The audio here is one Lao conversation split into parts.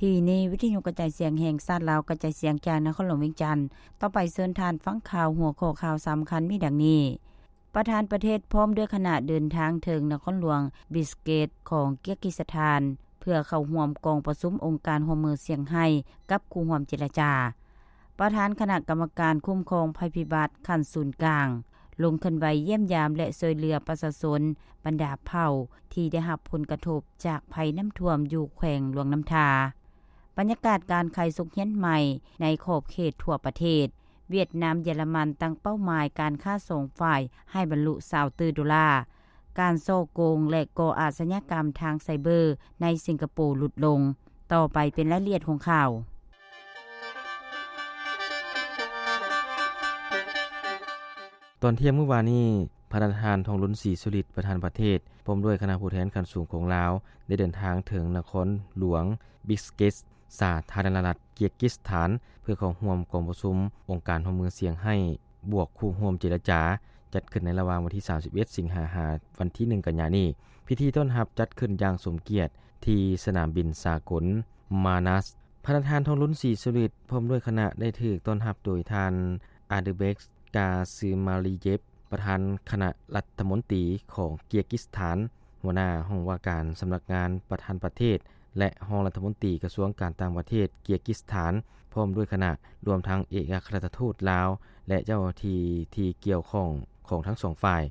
ທີ່ນີ້ ວິທະຍຸກະຈາຍສຽງແຫ່ງຊາດລາວ ກະຈາຍສຽງຈາກນະຄອນຫຼວງວຽງຈັນ. ຕໍ່ໄປເຊີນທ່ານຟັງຂ່າວ ຫົວຂໍ້ຂ່າວສຳຄັນມີດັ່ງນີ້: ປະທານປະເທດພ້ອມດ້ວຍຄະນະເດີນທາງເຖິງນະຄອນຫຼວງບິສເກດຂອງກີກິສຖານ ເພື່ອເຂົ້າຮ່ວມກອງປະຊຸມອົງການຮ່ວມມືຊຽງໄຮ້ກັບຄູ່ຮ່ວມເຈລະຈາ. ປະທານຄະນະກຳມະການຄຸ້ມຄອງໄພພິບັດຂັ້ນສູນກາງ ລົງເຄື່ອນໄຫວຢ້ຽມຢາມ ແລະ ຊ່ວຍເຫຼືອປະຊາຊົນບັນດາເຜົ່າທີ່ໄດ້ຮັບຜົນກະທົບຈາກໄພນ້ຳຖ້ວມຢູ່ແຂວງຫຼວງນ້ຳທາ. ບັນຍາກາດການຂາຍສົກຮຽນໃໝ່ໃນຂອບເຂດທົ່ວປະເທດ. ຫວຽດນາມ ເຢຍລະມັນ ຕັ້ງເປົ້າໝາຍການຄ້າສອງຝ່າຍໃຫ້ບັນລຸຊາວຕື້ໂດລາ. ການສໍ້ໂກງ ແລະ ກໍ່ອາຊະຍາກຳທາງໄຊເບີໃນສິງກະໂປຫຼຸດລົງ. ຕໍ່ໄປເປັນລາຍລະອຽດຂອງຂ່າວ. ຕອນທ່ຽງມື້ວານນີ້, ພະນະທ່ານ ທອງລຸນ ສີສຸລິດ ປະທານປະເທດ ພ້ອມດ້ວຍຄະນະຜູ້ແທນຂັ້ນສູງຂອງລາວ ໄດ້ເດີນທາງເຖິງນະຄອນຫຼວງບິສເກດ ສາທາລະນະລັດເກຍກິສຖານ ເພື່ອເຂົ້າຮ່ວມກອງປະຊຸມອົງການຮ່ວມມືຊຽງໄຮ້ ບວກຄູ່ຮ່ວມເຈລະຈາ ຈັດຂຶ້ນໃນລະຫວ່າງວັນທີສາມສິບເອັດ ສິງຫາ ຫາວັນທີໜຶ່ງ ກັນຍານີ້. ພິທີຕ້ອນຮັບຈັດຂຶ້ນຢ່າງສົມກຽດທີ່ສະໜາມບິນສາກົນມານັດ. ພະນະທ່ານ ທອງລຸນ ສີສຸລິດ ພ້ອມດ້ວຍຄະນະ ໄດ້ຖືກຕ້ອນຮັບໂດຍທ່ານ ອາເດີເບັກ ກາຊືມາລີເຢບ ປະທານຄະນະລັດຖະມົນຕີຂອງເກຍກິສຖານ, ຫົວໜ້າຫ້ອງວ່າການສຳນັກງານປະທານປະເທດ ແລະ ຮອງລັດຖະມົນຕີກະຊວງການຕ່າງປະເທດເກຍກິສຖານ ພ້ອມດ້ວຍຄະນະ, ລວມທັງເອກອັກຄະລັດຖະທູດລາວ ແລະ ເຈົ້າໜ້າທີ່ທີ່ກ່ຽວຂ້ອງຂອງທັງສອງຝ່າຍ.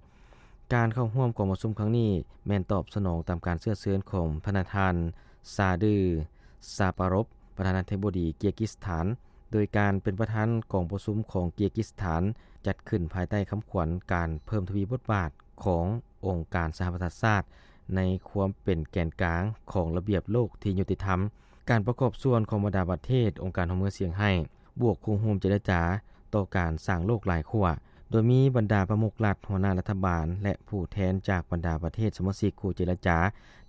ການເຂົ້າຮ່ວມກອງປະຊຸມຄັ້ງນີ້ ແມ່ນຕອບສະໜອງຕາມການເຊື້ອເຊີນຂອງພະນະທ່ານ ຊາດື ຊາປາຣົບ ປະທານາທິບໍດີເກຍກິສຖານ, ໂດຍການເປັນປະທານກອງປະຊຸມຂອງເກຍກິສຖານ ຈັດຂຶ້ນພາຍໃຕ້ຄຳຂວັນການເພີ່ມທະວີບົດບາດຂອງອົງການສະຫະປະຊາຊາດ ໃນຄວາມເປັນແກນກາງຂອງລະບຽບໂລກທີ່ຍຸຕິທຳ. ການປະກອບສ່ວນຂອງບັນດາປະເທດອົງການຮ່ວມມືຊຽງໄຮ້ ບວກຄູ່ຮ່ວມເຈລະຈາຕໍ່ການສ້າງໂລກຫຼາຍຂົ້ວ, ໂດຍມີບັນດາປະມຸກລັດ, ຫົວໜ້າລັດຖະບານ ແລະ ຜູ້ແທນຈາກບັນດາປະເທດສະມາຊິກຄູ່ເຈລະຈາ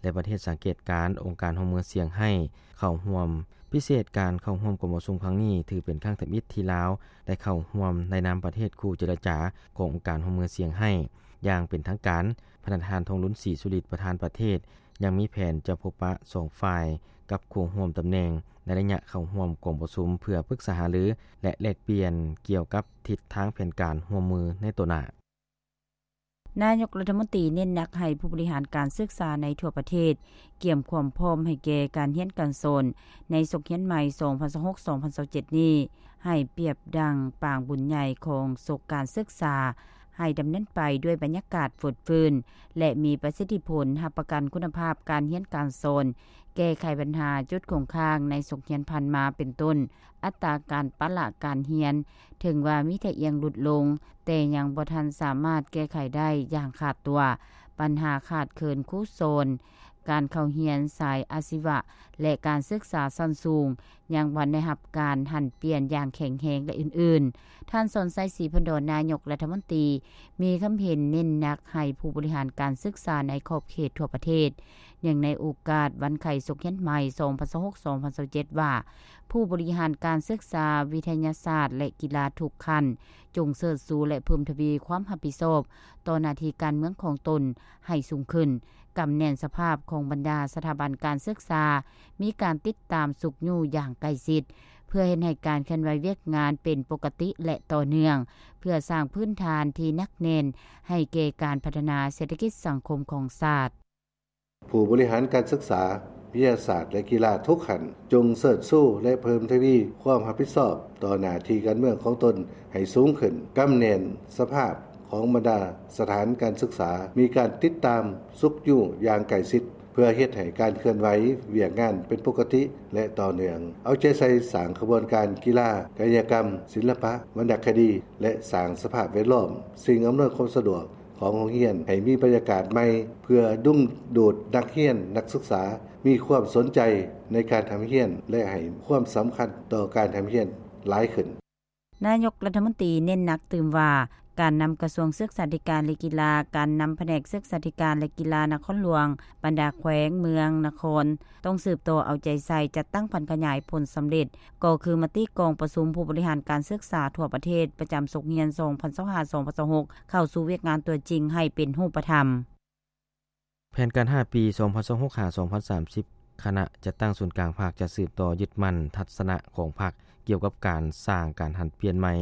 ແລະ ປະເທດສັງເກດການອົງການຮ່ວມມືຊຽງໄຮ້ເຂົ້າຮ່ວມ. ພິເສດການເຂົ້າຮ່ວມກອງປະຊຸມຄັ້ງນີ້ ຖືເປັນຄັ້ງທຳອິດທີ່ລາວໄດ້ເຂົ້າຮ່ວມໃນນາມປະເທດຄູ່ເຈລະຈາຂອງອົງການຮ່ວມມືຊຽງໄຮ້ຢ່າງເປັນທາງການ. ພະນະທ່ານ ທອງລຸນ ສີສຸລິດ ປະທານປະເທດ ຍັງມີແຜນຈະພົບປະສອງຝ່າຍກັບຄູ່ຮ່ວມຕຳແໜ່ງໃນໄລຍະເຂົ້າຮ່ວມກອງປະຊຸມ ເພື່ອປຶກສາຫາລື ແລະ ແລກປ່ຽນກ່ຽວກັບທິດທາງແຜນການຮ່ວມມືໃນຕໍ່ໜ້າ. ນາຍົກລັດຖະມົນຕີເນັ້ນໜັກໃຫ້ຜູ້ບໍລິຫານການສຶກສາໃນທົ່ວປະເທດກຽມຄວາມພ້ອມໃຫ້ແກ່ການຮຽນການສອນໃນສົກຮຽນໃໝ່ ສອງພັນຊາວຫົກ ສອງພັນຊາວເຈັດນີ້ ໃຫ້ປຽບດັ່ງປາງບຸນໃຫຍ່ຂອງສົກການສຶກສາ ໃຫ້ດຳເນີນໄປດ້ວຍບັນຍາກາດຟົດຟື້ນ ແລະ ມີປະສິດທິຜົນ, ຮັບປະກັນຄຸນນະພາບການຮຽນການສອນ, ແກ້ໄຂບັນຫາຈຸດຄົງຄ້າງໃນສົກຮຽນຜ່ານມາ ເປັນຕົ້ນ ອັດຕາການປະລະການຮຽນ ເຖິງວ່າມີທ່າອ່ຽງຫຼຸດລົງ, ແຕ່ຍັງບໍ່ທັນສາມາດແກ້ໄຂໄດ້ຢ່າງຂາດຕົວ. ບັນຫາຂາດເຂີນຄູສອນ, ການເຂົ້າຮຽນສາຍອາຊີວະ ແລະ ການສຶກສາຊັ້ນສູງ ຍັງບໍ່ໄດ້ຮັບການຫັນປ່ຽນຢ່າງແຂງແຮງ ແລະ ອື່ນໆ. ທ່ານ ສອນໄຊ ສີພັນດອນ ນາຍົກລັດຖະມົນຕີ ມີຄຳເຫັນເນັ້ນໜັກໃຫ້ຜູ້ບໍລິຫານການສຶກສາໃນຂອບເຂດທົ່ວປະເທດ. ເນື່ອງໃນໂອກາດວັນໄຂສົກຮຽນໃໝ່ ສອງພັນຊາວຫົກ ສອງພັນຊາວເຈັດ ວ່າ ຜູ້ບໍລິຫານການສຶກສາ, ວິທະຍາສາດ ແລະ ກິລາທຸກຂັ້ນ ຈົ່ງເຊີດຊູ ແລະ ເພີ່ມທະວີຄວາມຮັບຜິດຊອບຕໍ່ໜ້າທີ່ການເມືອງຂອງຕົນໃຫ້ສູງຂຶ້ນ, ກຳແໜ້ນສະພາບຂອງບັນດາສະຖາບັນການສຶກສາ, ມີການຕິດຕາມຊຸກຍູ້ຢ່າງໃກ້ຊິດ ເພື່ອເຮັດໃຫ້ການເຄື່ອນໄຫວວຽກງານເປັນປົກກະຕິ ແລະ ຕໍ່ເນື່ອງ, ເພື່ອສ້າງພື້ນຖານທີ່ໜັກແໜ້ນໃຫ້ແກ່ການພັດທະນາເສດຖະກິດສັງຄົມຂອງຊາດ. ຜູ້ບໍລິຫານການສຶກສາ, ວິທະຍາສາດ ແລະ ກິລາທຸກຂັ້ນ ຈົ່ງເຊີດຊູ ແລະ ເພີ່ມທະວີຄວາມຮັບຜິດຊອບຕໍ່ໜ້າທີ່ການເມືອງຂອງຕົນໃຫ້ສູງຂຶ້ນ, ກຳແໜ້ນສະພາບຂອງບັນດາສະຖານການສຶກສາ, ມີການຕິດຕາມຊຸກຍູ້ຢ່າງໃກ້ຊິດ ເພື່ອເຮັດໃຫ້ການເຄື່ອນໄຫວວຽກງານເປັນປົກກະຕິ ແລະ ຕໍ່ເນື່ອງ. ເອົາໃຈໃສ່ສ້າງຂະບວນການກິລາ, ກາຍະກຳ, ສິລະປະ, ວັນນະຄະດີ ແລະ ສ້າງສະພາບແວດລ້ອມ, ສິ່ງອຳນວຍຄວາມສະດວກ ຂອງໂຮງຮຽນໃຫ້ມີບັນຍາກາດໃໝ່ ເພື່ອດຶງດູດນັກຮຽນ, ນັກສຶກສາມີຄວາມສົນໃຈໃນການຮ່ຳຮຽນ ແລະ ໃຫ້ຄວາມສຳຄັນຕໍ່ການຮ່ຳຮຽນຫຼາຍຂຶ້ນ. ນາຍົກລັດຖະມົນຕີເນັ້ນໜັກຕື່ມວ່າ ການນຳກະຊວງສຶກສາທິການ ແລະ ກິລາ, ການນຳພະແນກສຶກສາທິການ ແລະ ກິລານະຄອນຫຼວງ, ບັນດາແຂວງ, ເມືອງ, ນະຄອນ ຕ້ອງສືບຕໍ່ເອົາໃຈໃສ່ຈັດຕັ້ງຜັນຂະຫຍາຍຜົນສຳເລັດ ກໍຄືມະຕິກອງປະຊຸມຜູ້ບໍລິຫານການສຶກສາທົ່ວປະເທດປະຈຳສົກຮຽນ ສອງພັນຊາວຫ້າ ສອງພັນຊາວຫົກ ເຂົ້າສູ່ວຽກງານຕົວຈິງໃຫ້ເປັນຮູບປະທຳ. ແຜນການຫ້າປີ ສອງພັນຊາວຫົກ ຫາ ສອງພັນສາມສິບ ຄະນະຈັດຕັ້ງສູນກາງພັກຈະສືບຕໍ່ຍຶດໝັ້ນທັດສະນະຂອງພັກ ກ່ຽວກັບການສ້າງການຫັນປ່ຽນໃໝ່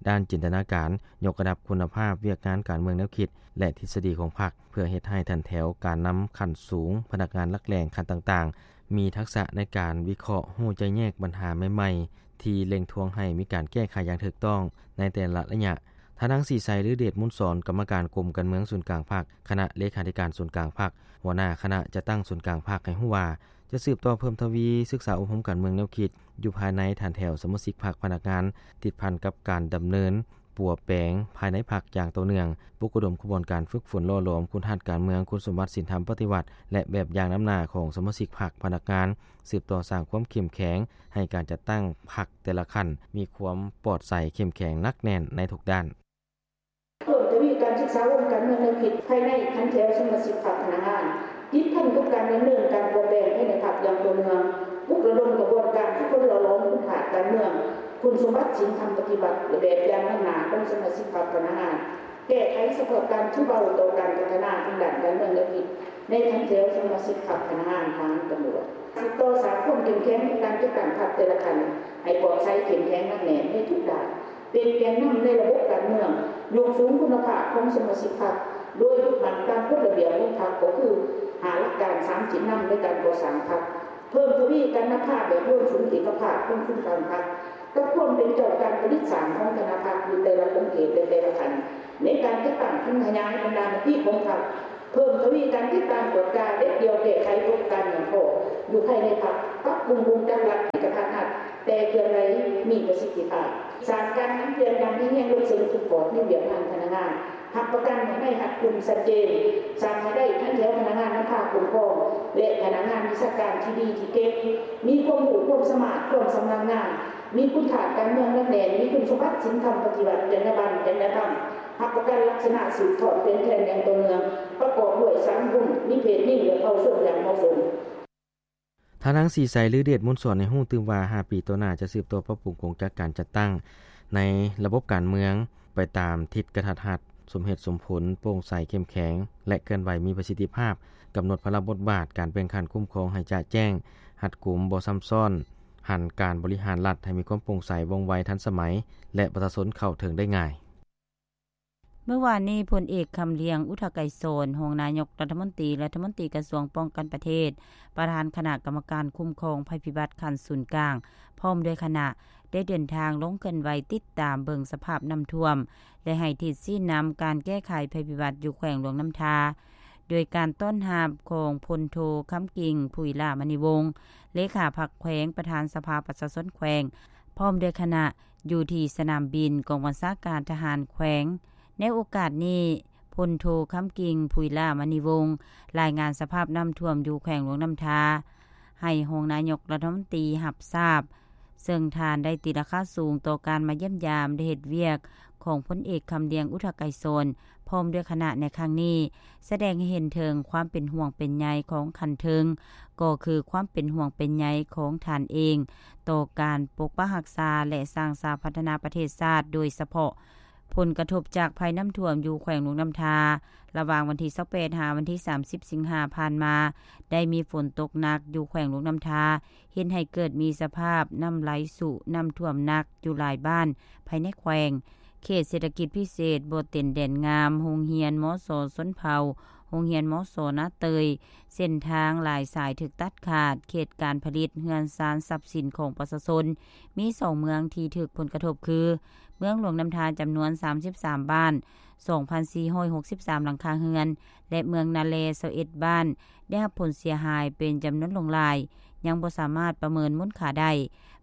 ດ້ານຈິນຕະນາການ, ຍົກລະດັບຄຸນນະພາບວຽກງານການເມືອງແນວຄິດ ແລະ ທິດສະດີຂອງພັກ ເພື່ອເຮັດໃຫ້ຖັນແຖວການນຳຂັ້ນສູງ, ພະນັກງານຫຼັກແຫຼ່ງຂັ້ນຕ່າງໆ ມີທັກສະໃນການວິເຄາະ, ຮູ້ແຈ້ງແຍກບັນຫາໃໝ່ໆ ທີ່ເລັ່ງທວງໃຫ້ມີການແກ້ໄຂຢ່າງຖືກຕ້ອງໃນແຕ່ລະໄລຍະ. ທ່ານນາງ ສີໄຊ ລືເດດມູນສອນ ກຳມະການກົມການເມືອງສູນກາງພັກ, ຄະນະເລຂາທິການສູນກາງພັກ, ຫົວໜ້າຄະນະຈັດຕັ້ງສູນກາງພັກ ໃຫ້ຮູ້ວ່າ ຈະສືບຕໍ່ເພີ່ມທະວີສຶກສາອົບຮົມການເມືອງແນວຄິດ ຢູ່ພາຍໃນຖານແຖວສະມາຊິກພັກ, ພະນັກງານ, ຕິດພັນກັບການດຳເນີນປົວແປງພາຍໃນພັກຢ່າງຕໍ່ເນື່ອງ, ປຸກລະດົມຂະບວນການຝຶກຝົນຫຼໍ່ຫຼອມຄຸນທາດການເມືອງ, ຄຸນສົມບັດສິນທຳປະຕິວັດ ແລະ ແບບຢ່າງນຳໜ້າຂອງສະມາຊິກພັກ, ພະນັກງານ, ສືບຕໍ່ສ້າງຄວາມເຂັ້ມແຂງໃຫ້ການຈັດຕັ້ງພັກແຕ່ລະຂັ້ນມີຄວາມປອດໃສ, ເຂັ້ມແຂງ, ໜັກແໜ້ນໃນທຸກດ້ານ. ເພີ່ມທະວີການສຶກສາອົບຮົມການເມືອງແນວຄິດພາຍໃນຖັນແຖວສະມາຊິກພັກ, ພະນັກງານ, ຕິດພັນກັບການດຳເນີນການປົວແປງພາຍໃນພັກຢ່າງຕໍ່ເນື່ອງ, ປຸກລະດົມຂະບວນການຝຶກຝົນຫຼໍ່ຫຼອມຄຸນທາດການເມືອງ, ຄຸນສົມບັດສິນທຳປະຕິວັດ ແລະ ແບບຢ່າງນຳໜ້າຂອງສະມາຊິກພັກ, ພະນັກງານ, ແກ້ໄຂສະເພາະການຖືເບົາຕໍ່ການພັດທະນາທາງດ້ານການເມືອງແນວຄິດໃນຖັນແຖວສະມາຊິກພັກ, ພະນັກງານ, ທະຫານ, ຕຳຫຼວດ. ສືບຕໍ່ສ້າງຄວາມເຂັ້ມແຂງຂອງການຈັດຕັ້ງພັກແຕ່ລະຂັ້ນ ໃຫ້ປອດໃສ, ເຂັ້ມແຂງ, ໜັກແໜ້ນໃນທຸກດ້ານ, ເປັນແກນນຳໃນລະບົບການເມືອງ, ຍົກສູງຄຸນນະພາບຂອງສະມາຊິກພັກ ໂດຍຍຶດໝັ້ນຕາມກົດລະບຽບຂອງພັກ ກໍຄື ຫ້າຫຼັກການ, ສາມຈິດນຳໃນການກໍ່ສ້າງພັກ, ເພີ່ມທະວີການນຳພາແບບລວມສູນເອກະພາບຂອງສູນກາງພັກ ກັບຄວາມເປັນເຈົ້າການຜະລິດສ້າງຂອງຄະນະພັກຢູ່ແຕ່ລະຂົງເຂດ ແລະ ແຕ່ລະຂັ້ນ ໃນການຈັດຕັ້ງຜັນຂະຫຍາຍບັນດາມະຕິຂອງພັກ, ເພີ່ມທະວີການຕິດຕາມກວດກາເດັດດ່ຽວແກ້ໄຂຕົກການຫຍັງຂໍ້ຢູ່ພາຍໃນພັກ, ປັບປຸງວົງຈັກລັດໃຫ້ກະທັດຮັດ ແຕ່ເຄື່ອນໄຫວມີປະສິດທິພາບ, ສ້າງການຫັນປ່ຽນຢ່າງແຮງລົງເຊິ່ງທຸກຂອບໃນວຽກງານພະນັກງານ, ຮັບປະກັນໃຫ້ນາຍຮັບກຸ່ມຊັດເຈນ, ສ້າງໃຫ້ໄດ້ທັງແຖວພະນັກງານນຳພາຄຸ້ມຄອງ ແລະ ພະນັກງານວິຊາການທີ່ດີທີ່ເກັ່ງ, ມີຄວາມຮູ້ຄວາມສາມາດ, ຄວາມຊຳນານງານ, ມີຄຸນທາດການເມືອງໜັກແໜ້ນ, ມີຄຸນສົມບັດສິນທຳປະຕິວັດ, ຈັນຍາບັນ, ຈັນຍາທຳ, ຮັບປະກັນລັກສະນະສືບທອດແຜນແຂງຢ່າງຕໍ່ເນື່ອງ, ປະກອບດ້ວຍສາມກຸ່ມ, ມີເພດຍິງ ແລະ ເຜົ່າຊົນຢ່າງເໝາະສົມ. ທ່ານນາງ ສີໄຊ ລືເດດມູນສອນ ໃຫ້ຮູ້ຕື່ມວ່າ ຫ້າປີຕໍ່ໜ້າຈະສືບຕໍ່ປັບປຸງກົງຈັກການຈັດຕັ້ງໃນລະບົບການເມືອງ ໄປຕາມທິດກະທັດຮັດ, ສົມເຫດສົມຜົນ, ໂປ່ງໃສ, ເຂັ້ມແຂງ ແລະ ເຄື່ອນໄຫວມີປະສິດທິພາບ, ກຳນົດພາລະບົດບາດການແບ່ງຂັ້ນຄຸ້ມຄອງໃຫ້ຈະແຈ້ງ, ຮັດກຸມ, ບໍ່ຊ້ຳຊ້ອນ, ຫັນການບໍລິຫານລັດໃຫ້ມີຄວາມໂປ່ງໃສ, ວ່ອງໄວ, ທັນສະໄໝ ແລະ ປະຊາຊົນເຂົ້າເຖິງໄດ້ງ່າຍ. ເມື່ອວານນີ້, ພົນເອກ ຄຳລຽງ ອຸທະໄກສອນ ຮອງນາຍົກລັດຖະມົນຕີ, ລັດຖະມົນຕີກະຊວງປ້ອງກັນປະເທດ, ປະທານຄະນະກຳມະການຄຸ້ມຄອງໄພພິບັດຂັ້ນສູນກາງ ພ້ອມດ້ວຍຄະນະ ໄດ້ເດີນທາງລົງເຄື່ອນໄຫວຕິດຕາມເບິ່ງສະພາບນ້ຳຖ້ວມ ແລະ ໃຫ້ທິດຊີ້ນຳການແກ້ໄຂໄພພິບັດຢູ່ແຂວງຫຼວງນ້ຳທາ, ໂດຍການຕ້ອນຮັບຂອງພົນໂທ ຄຳກິ່ງ ຜຸຍຫຼ້າມະນີວົງ ເລຂາພັກແຂວງ, ປະທານສະພາປະຊາຊົນແຂວງ ພ້ອມດ້ວຍຄະນະ ຢູ່ທີ່ສະໜາມບິນກອງບັນຊາການທະຫານແຂວງ. ໃນໂອກາດນີ້, ພົນໂທ ຄຳກິ່ງ ຜຸຍຫຼ້າມະນີວົງ ລາຍງານສະພາບນ້ຳຖ້ວມຢູ່ແຂວງຫຼວງນ້ຳທາ ໃຫ້ຮອງນາຍົກລັດຖະມົນຕີຮັບຊາບ, ເຊິ່ງທ່ານໄດ້ຕີລາຄາສູງຕໍ່ການມາຢ້ຽມຢາມ ແລະ ເຮັດວຽກຂອງພົນເອກ ຄຳລຽງ ອຸທະໄກສອນ ພ້ອມດ້ວຍຄະນະໃນຄັ້ງນີ້, ສະແດງໃຫ້ເຫັນເຖິງຄວາມເປັນຫ່ວງເປັນໃຍຂອງຂັ້ນເທິງ, ກໍຄືຄວາມເປັນຫ່ວງເປັນໃຍຂອງທ່ານເອງ ຕໍ່ການປົກປັກຮັກສາ ແລະ ສ້າງສາພັດທະນາປະເທດຊາດ, ໂດຍສະເພາະ ຜົນກະທົບຈາກໄພນ້ຳຖ້ວມຢູ່ແຂວງຫຼວງນ້ຳທາ ລະຫວ່າງວັນທີຊາວແປດ ຫາວັນທີສາມສິບ ສິງຫາຜ່ານມາ, ໄດ້ມີຝົນຕົກໜັກຢູ່ແຂວງຫຼວງນ້ຳທາ, ເຮັດໃຫ້ເກີດມີສະພາບນ້ຳໄຫຼຊຸ, ນ້ຳຖ້ວມໜັກຢູ່ຫຼາຍບ້ານພາຍໃນແຂວງ. ເຂດເສດຖະກິດພິເສດບໍ່ເຕັນແດນງາມ, ໂຮງຮຽນ ມສ ຊົນເຜົ່າ, ໂຮງຮຽນ ມສ ນາເຕີຍ, ເສັ້ນທາງຫຼາຍສາຍຖືກຕັດຂາດ, ເຂດການຜະລິດ, ເຮືອນຊານ, ຊັບສິນຂອງປະຊາຊົນ ມີສອງເມືອງທີ່ຖືກຜົນກະທົບຄື ເມືອງຫຼວງນ້ຳທາ ຈຳນວນສາມສິບສາມບ້ານ, ສອງພັນສີ່ຮ້ອຍຫົກສິບສາມຫຼັງຄາເຮືອນ ແລະ ເມືອງນາແລ ຊາວເອັດບ້ານ ໄດ້ຮັບຜົນເສຍຫາຍເປັນຈຳນວນຫຼວງຫຼາຍ, ຍັງບໍ່ສາມາດປະເມີນມູນຄ່າໄດ້.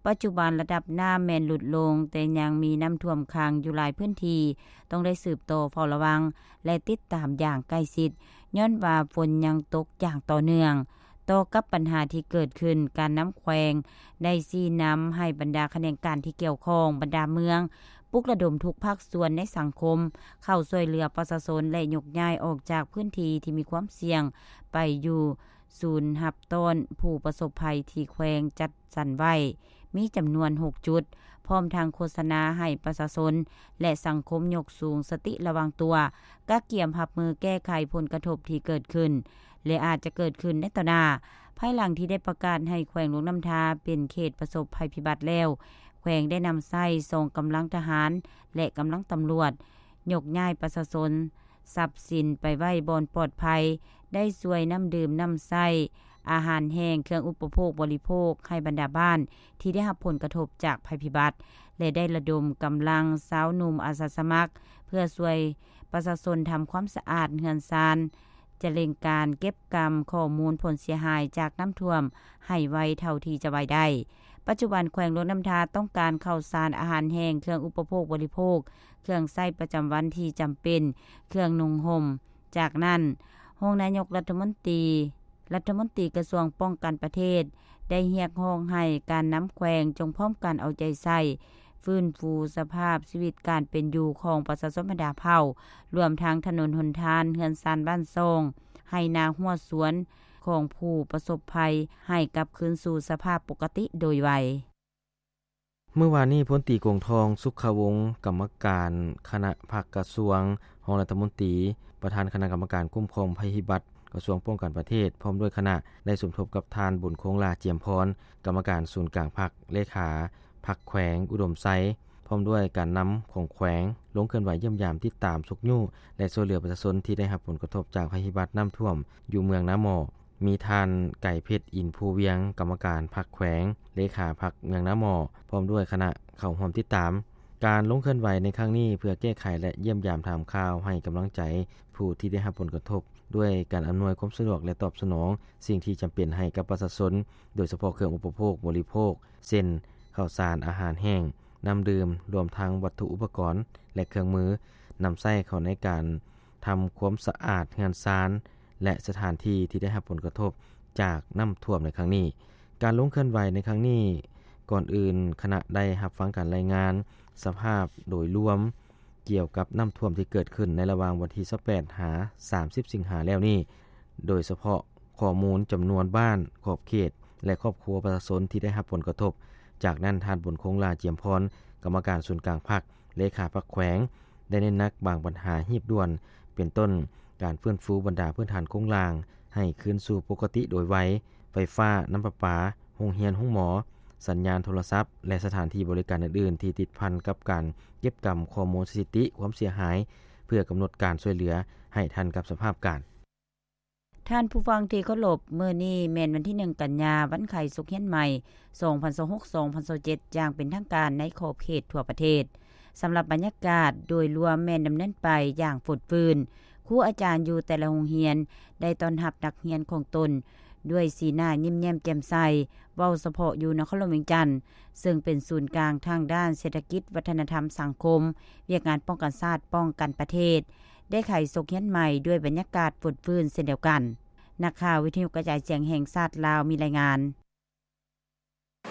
ປັດຈຸບັນລະດັບນ້ຳແມ່ນຫຼຸດລົງ, ແຕ່ຍັງມີນ້ຳຖ້ວມຂັງຢູ່ຫຼາຍພື້ນທີ່, ຕ້ອງໄດ້ສືບຕໍ່ເຝົ້າລະວັງ ແລະ ຕິດຕາມຢ່າງໃກ້ຊິດ, ຍ້ອນວ່າຝົນຍັງຕົກຢ່າງຕໍ່ເນື່ອງ. ຕໍ່ກັບບັນຫາທີ່ເກີດຂຶ້ນ, ການນຳແຂວງໄດ້ຊີ້ນຳໃຫ້ບັນດາຂະແໜງການທີ່ກ່ຽວຂ້ອງ, ບັນດາເມືອງ, ປຸກລະດົມທຸກພາກສ່ວນໃນສັງຄົມ ເຂົ້າຊ່ວຍເຫຼືອປະຊາຊົນ ແລະ ຍົກຍ້າຍອອກຈາກພື້ນທີ່ທີ່ມີຄວາມສ່ຽງ ໄປຢູ່ສູນຮັບຕ້ອນຜູ້ປະສົບໄພທີ່ແຂວງຈັດສັນໄວ້ ມີຈຳນວນຫົກຈຸດ, ພ້ອມທັງໂຄສະນາໃຫ້ປະຊາຊົນ ແລະ ສັງຄົມຍົກສູງສະຕິລະວັງຕົວ, ກະກຽມຮັບມືແກ້ໄຂຜົນກະທົບທີ່ເກີດຂຶ້ນ ແລະ ອາດຈະເກີດຂຶ້ນໃນຕໍ່ໜ້າ, ເ ພາຍຫຼັງທີ່ໄດ້ປະກາດໃຫ້ແຂວງຫຼວງນ້ຳທາເປັນເຂດປະສົບໄພພິບັດແລ້ວ, ແຂວງໄດ້ນຳໃຊ້ສອງກຳລັງທະຫານ ແລະ ກຳລັງຕຳຫຼວດ ຍົກຍ້າຍປະຊາຊົນ ຊັບສິນໄປໄວ້ບ່ອນປອດໄພ, ໄດ້ຊ່ວຍນ້ຳດື່ມ, ນ້ຳໃຊ້, ອາຫານແຫ້ງ, ເຄື່ອງອຸປະໂພກບໍລິໂພກໃຫ້ບັນດາບ້ານທີ່ໄດ້ຮັບຜົນກະທົບຈາກໄພພິບັດ ແລະ ໄດ້ລະດົມກຳລັງຊາວໜຸ່ມອາສາສະໝັກ ເພື່ອຊ່ວຍປະຊາຊົນທຳຄວາມສະອາດເຮືອນຊານ, ຈະເລັ່ງການເກັບກຳຂໍ້ມູນຜົນເສຍຫາຍຈາກນ້ຳຖ້ວມໃຫ້ໄວເທົ່າທີ່ຈະໄວໄດ້. ປັດຈຸບັນແຂວງຫຼວງນ້ຳທາຕ້ອງການເຂົ້າສານ, ອາຫານແຫ້ງ, ເຄື່ອງອຸປະໂພກບໍລິໂພກ, ເຄື່ອງໃຊ້ປະຈຳວັນທີ່ຈຳເປັນ, ເຄື່ອງນຸ່ງຫົ່ມ. ຈາກນັ້ນ, ຮອງນາຍົກລັດຖະມົນຕີ, ລັດຖະມົນຕີກະຊວງປ້ອງກັນປະເທດ ໄດ້ຮຽກຮ້ອງໃຫ້ການນຳແຂວງຈົ່ງພ້ອມກັນເອົາໃຈໃສ່ ຟື້ນຟູສະພາບຊີວິດການເປັນຢູ່ຂອງປະຊາຊົນບັນດາເຜົ່າ, ລວມທັງຖະໜົນຫົນທາງ, ເຮືອນຊານບ້ານຊ່ອງ, ໄຮ່ນາຮົ້ວສວນຂອງຜູ້ປະສົບໄພ ໃຫ້ກັບຄືນສູ່ສະພາບປົກກະຕິໂດຍໄວ. ມື້ວານນີ້, ພົນຕີ ກົງທອງ ສຸຂະວົງ ກຳມະການຄະນະພັກກະຊວງ, ຮອງລັດຖະມົນຕີ, ປະທານຄະນະກຳມະການຄຸ້ມຄອງໄພພິບັດ ກະຊວງປ້ອງກັນປະເທດ ພ້ອມດ້ວຍຄະນະ ໄດ້ສົມທົບກັບທ່ານ ບຸນຄົງ ຫຼ້າຈຽມພອນ ກຳມະການສູນກາງພັກ, ເລຂາພັກແຂວງອຸດົມໄຊ ພ້ອມດ້ວຍການນຳຂອງແຂວງ ລົງເຄື່ອນໄຫວຢ້ຽມຢາມ, ຕິດຕາມ, ຊຸກຍູ້ ແລະ ຊ່ວຍເຫຼືອປະຊາຊົນທີ່ໄດ້ຮັບຜົນກະທົບຈາກໄພພິບັດນ້ຳຖ້ວມຢູ່ເມືອງນາໝໍ້. ມີທ່ານ ໄກເພັດ ອິນພູວຽງ ກຳມະການພັກແຂວງ, ເລຂາພັກເມືອງນາໝໍ້ ພ້ອມດ້ວຍຄະນະ ເຂົ້າຮ່ວມຕິດຕາມ. ການລົງເຄື່ອນໄຫວໃນຄັ້ງນີ້ ເພື່ອແກ້ໄຂ ແລະ ຢ້ຽມຢາມຖາມຂ່າວ, ໃຫ້ກຳລັງໃຈຜູ້ທີ່ໄດ້ຮັບຜົນກະທົບ ດ້ວຍການອຳນວຍຄວາມສະດວກ ແລະ ຕອບສະໜອງສິ່ງທີ່ຈຳເປັນໃຫ້ກັບປະຊາຊົນ, ໂດຍສະເພາະເຄື່ອງອຸປະໂພກບໍລິໂພກ ເຊັ່ນ ເຂົ້າສານ, ອາຫານແຫ້ງ, ນ້ຳດື່ມ, ລວມທັງວັດຖຸອຸປະກອນ ແລະ ເຄື່ອງມືນຳໃຊ້ເຂົ້າໃນການ ທຳຄວາມສະອາດເຮືອນຊານ ແລະ ສະຖານທີ່ທີ່ໄດ້ຮັບຜົນກະທົບຈາກນ້ຳຖ້ວມໃນຄັ້ງນີ້. ການລົງເຄື່ອນໄຫວໃນຄັ້ງນີ້, ກ່ອນອື່ນຄະນະໄດ້ຮັບຟັງການລາຍງານສະພາບໂດຍລວມກ່ຽວກັບນ້ຳຖ້ວມທີ່ເກີດຂຶ້ນໃນລະຫວ່າງວັນທີຊາວແປດ ຫາ ສາມສິບ ສິງຫາແລ້ວນີ້, ໂດຍສະເພາະຂໍ້ມູນຈຳນວນບ້ານ, ຂອບເຂດ ແລະ ຄອບຄົວປະຊາຊົນທີ່ໄດ້ຮັບຜົນກະທົບ. ຈາກນັ້ນ, ທ່ານ ບຸນຄົງ ຫຼ້າຈຽມພອນ ກຳມະການສູນກາງພັກ, ເລຂາພັກແຂວງ ໄດ້ເນັ້ນໜັກບາງບັນຫາຮີບດ່ວນ ເປັນຕົ້ນ ການຟື້ນຟູບັນດາພື້ນຖານໂຄງລ່າງໃຫ້ຄືນສູ່ປົກກະຕິໂດຍໄວ, ໄຟຟ້າ, ນ້ຳປະປາ, ໂຮງຮຽນ, ໂຮງໝໍ, ສັນຍານໂທລະສັບ ແລະ ສະຖານທີ່ບໍລິການອື່ນໆ ທີ່ຕິດພັນກັບການເກັບກຳຂໍ້ມູນສະຖິຕິຄວາມເສຍຫາຍ ເພື່ອກຳນົດການຊ່ວຍເຫຼືອໃຫ້ທັນກັບສະພາບການ. ທ່ານຜູ້ຟັງທີ່ເຄົາລົບ, ມື້ນີ້ແມ່ນວັນທີໜຶ່ງ ກັນຍາ, ວັນໄຂ້ສົກຮຽນໃໝ່ ສອງພັນຊາວຫົກ ສອງພັນຊາວເຈັດ ຢ່າງເປັນທາງການໃນຂອບເຂດທົ່ວປະເທດ. ສຳລັບບັນຍາກາດໂດຍລວມແມ່ນດຳເນີນໄປຢ່າງຟົດຟື້ນ. ຄູອາຈານຢູ່ແຕ່ລະໂຮງຮຽນໄດ້ຕ້ອນຮັບນັກຮຽນຂອງຕົນດ້ວຍສີໜ້າຍິ້ມແຍ້ມແຈ່ມໃສ, ເວົ້າສະເພາະຢູ່ນະຄອນຫຼວງວຽງຈັນ, ເຊິ່ງເປັນສູນກາງທາງດ້ານເສດຖະກິດ, ວັດທະນະທຳ, ສັງຄົມ, ວຽກງານປ້ອງກັນຊາດ, ປ້ອງກັນປະເທດ, ໄດ້ໄຂສົກຮຽນໃໝ່ດ້ວຍບັນຍາກາດຟົດຟື້ນເຊັ່ນດຽວກັນ. ນັກຂ່າວວິທະຍຸກະຈາຍສຽງແຫ່ງຊາດລາວມີລາຍງານ.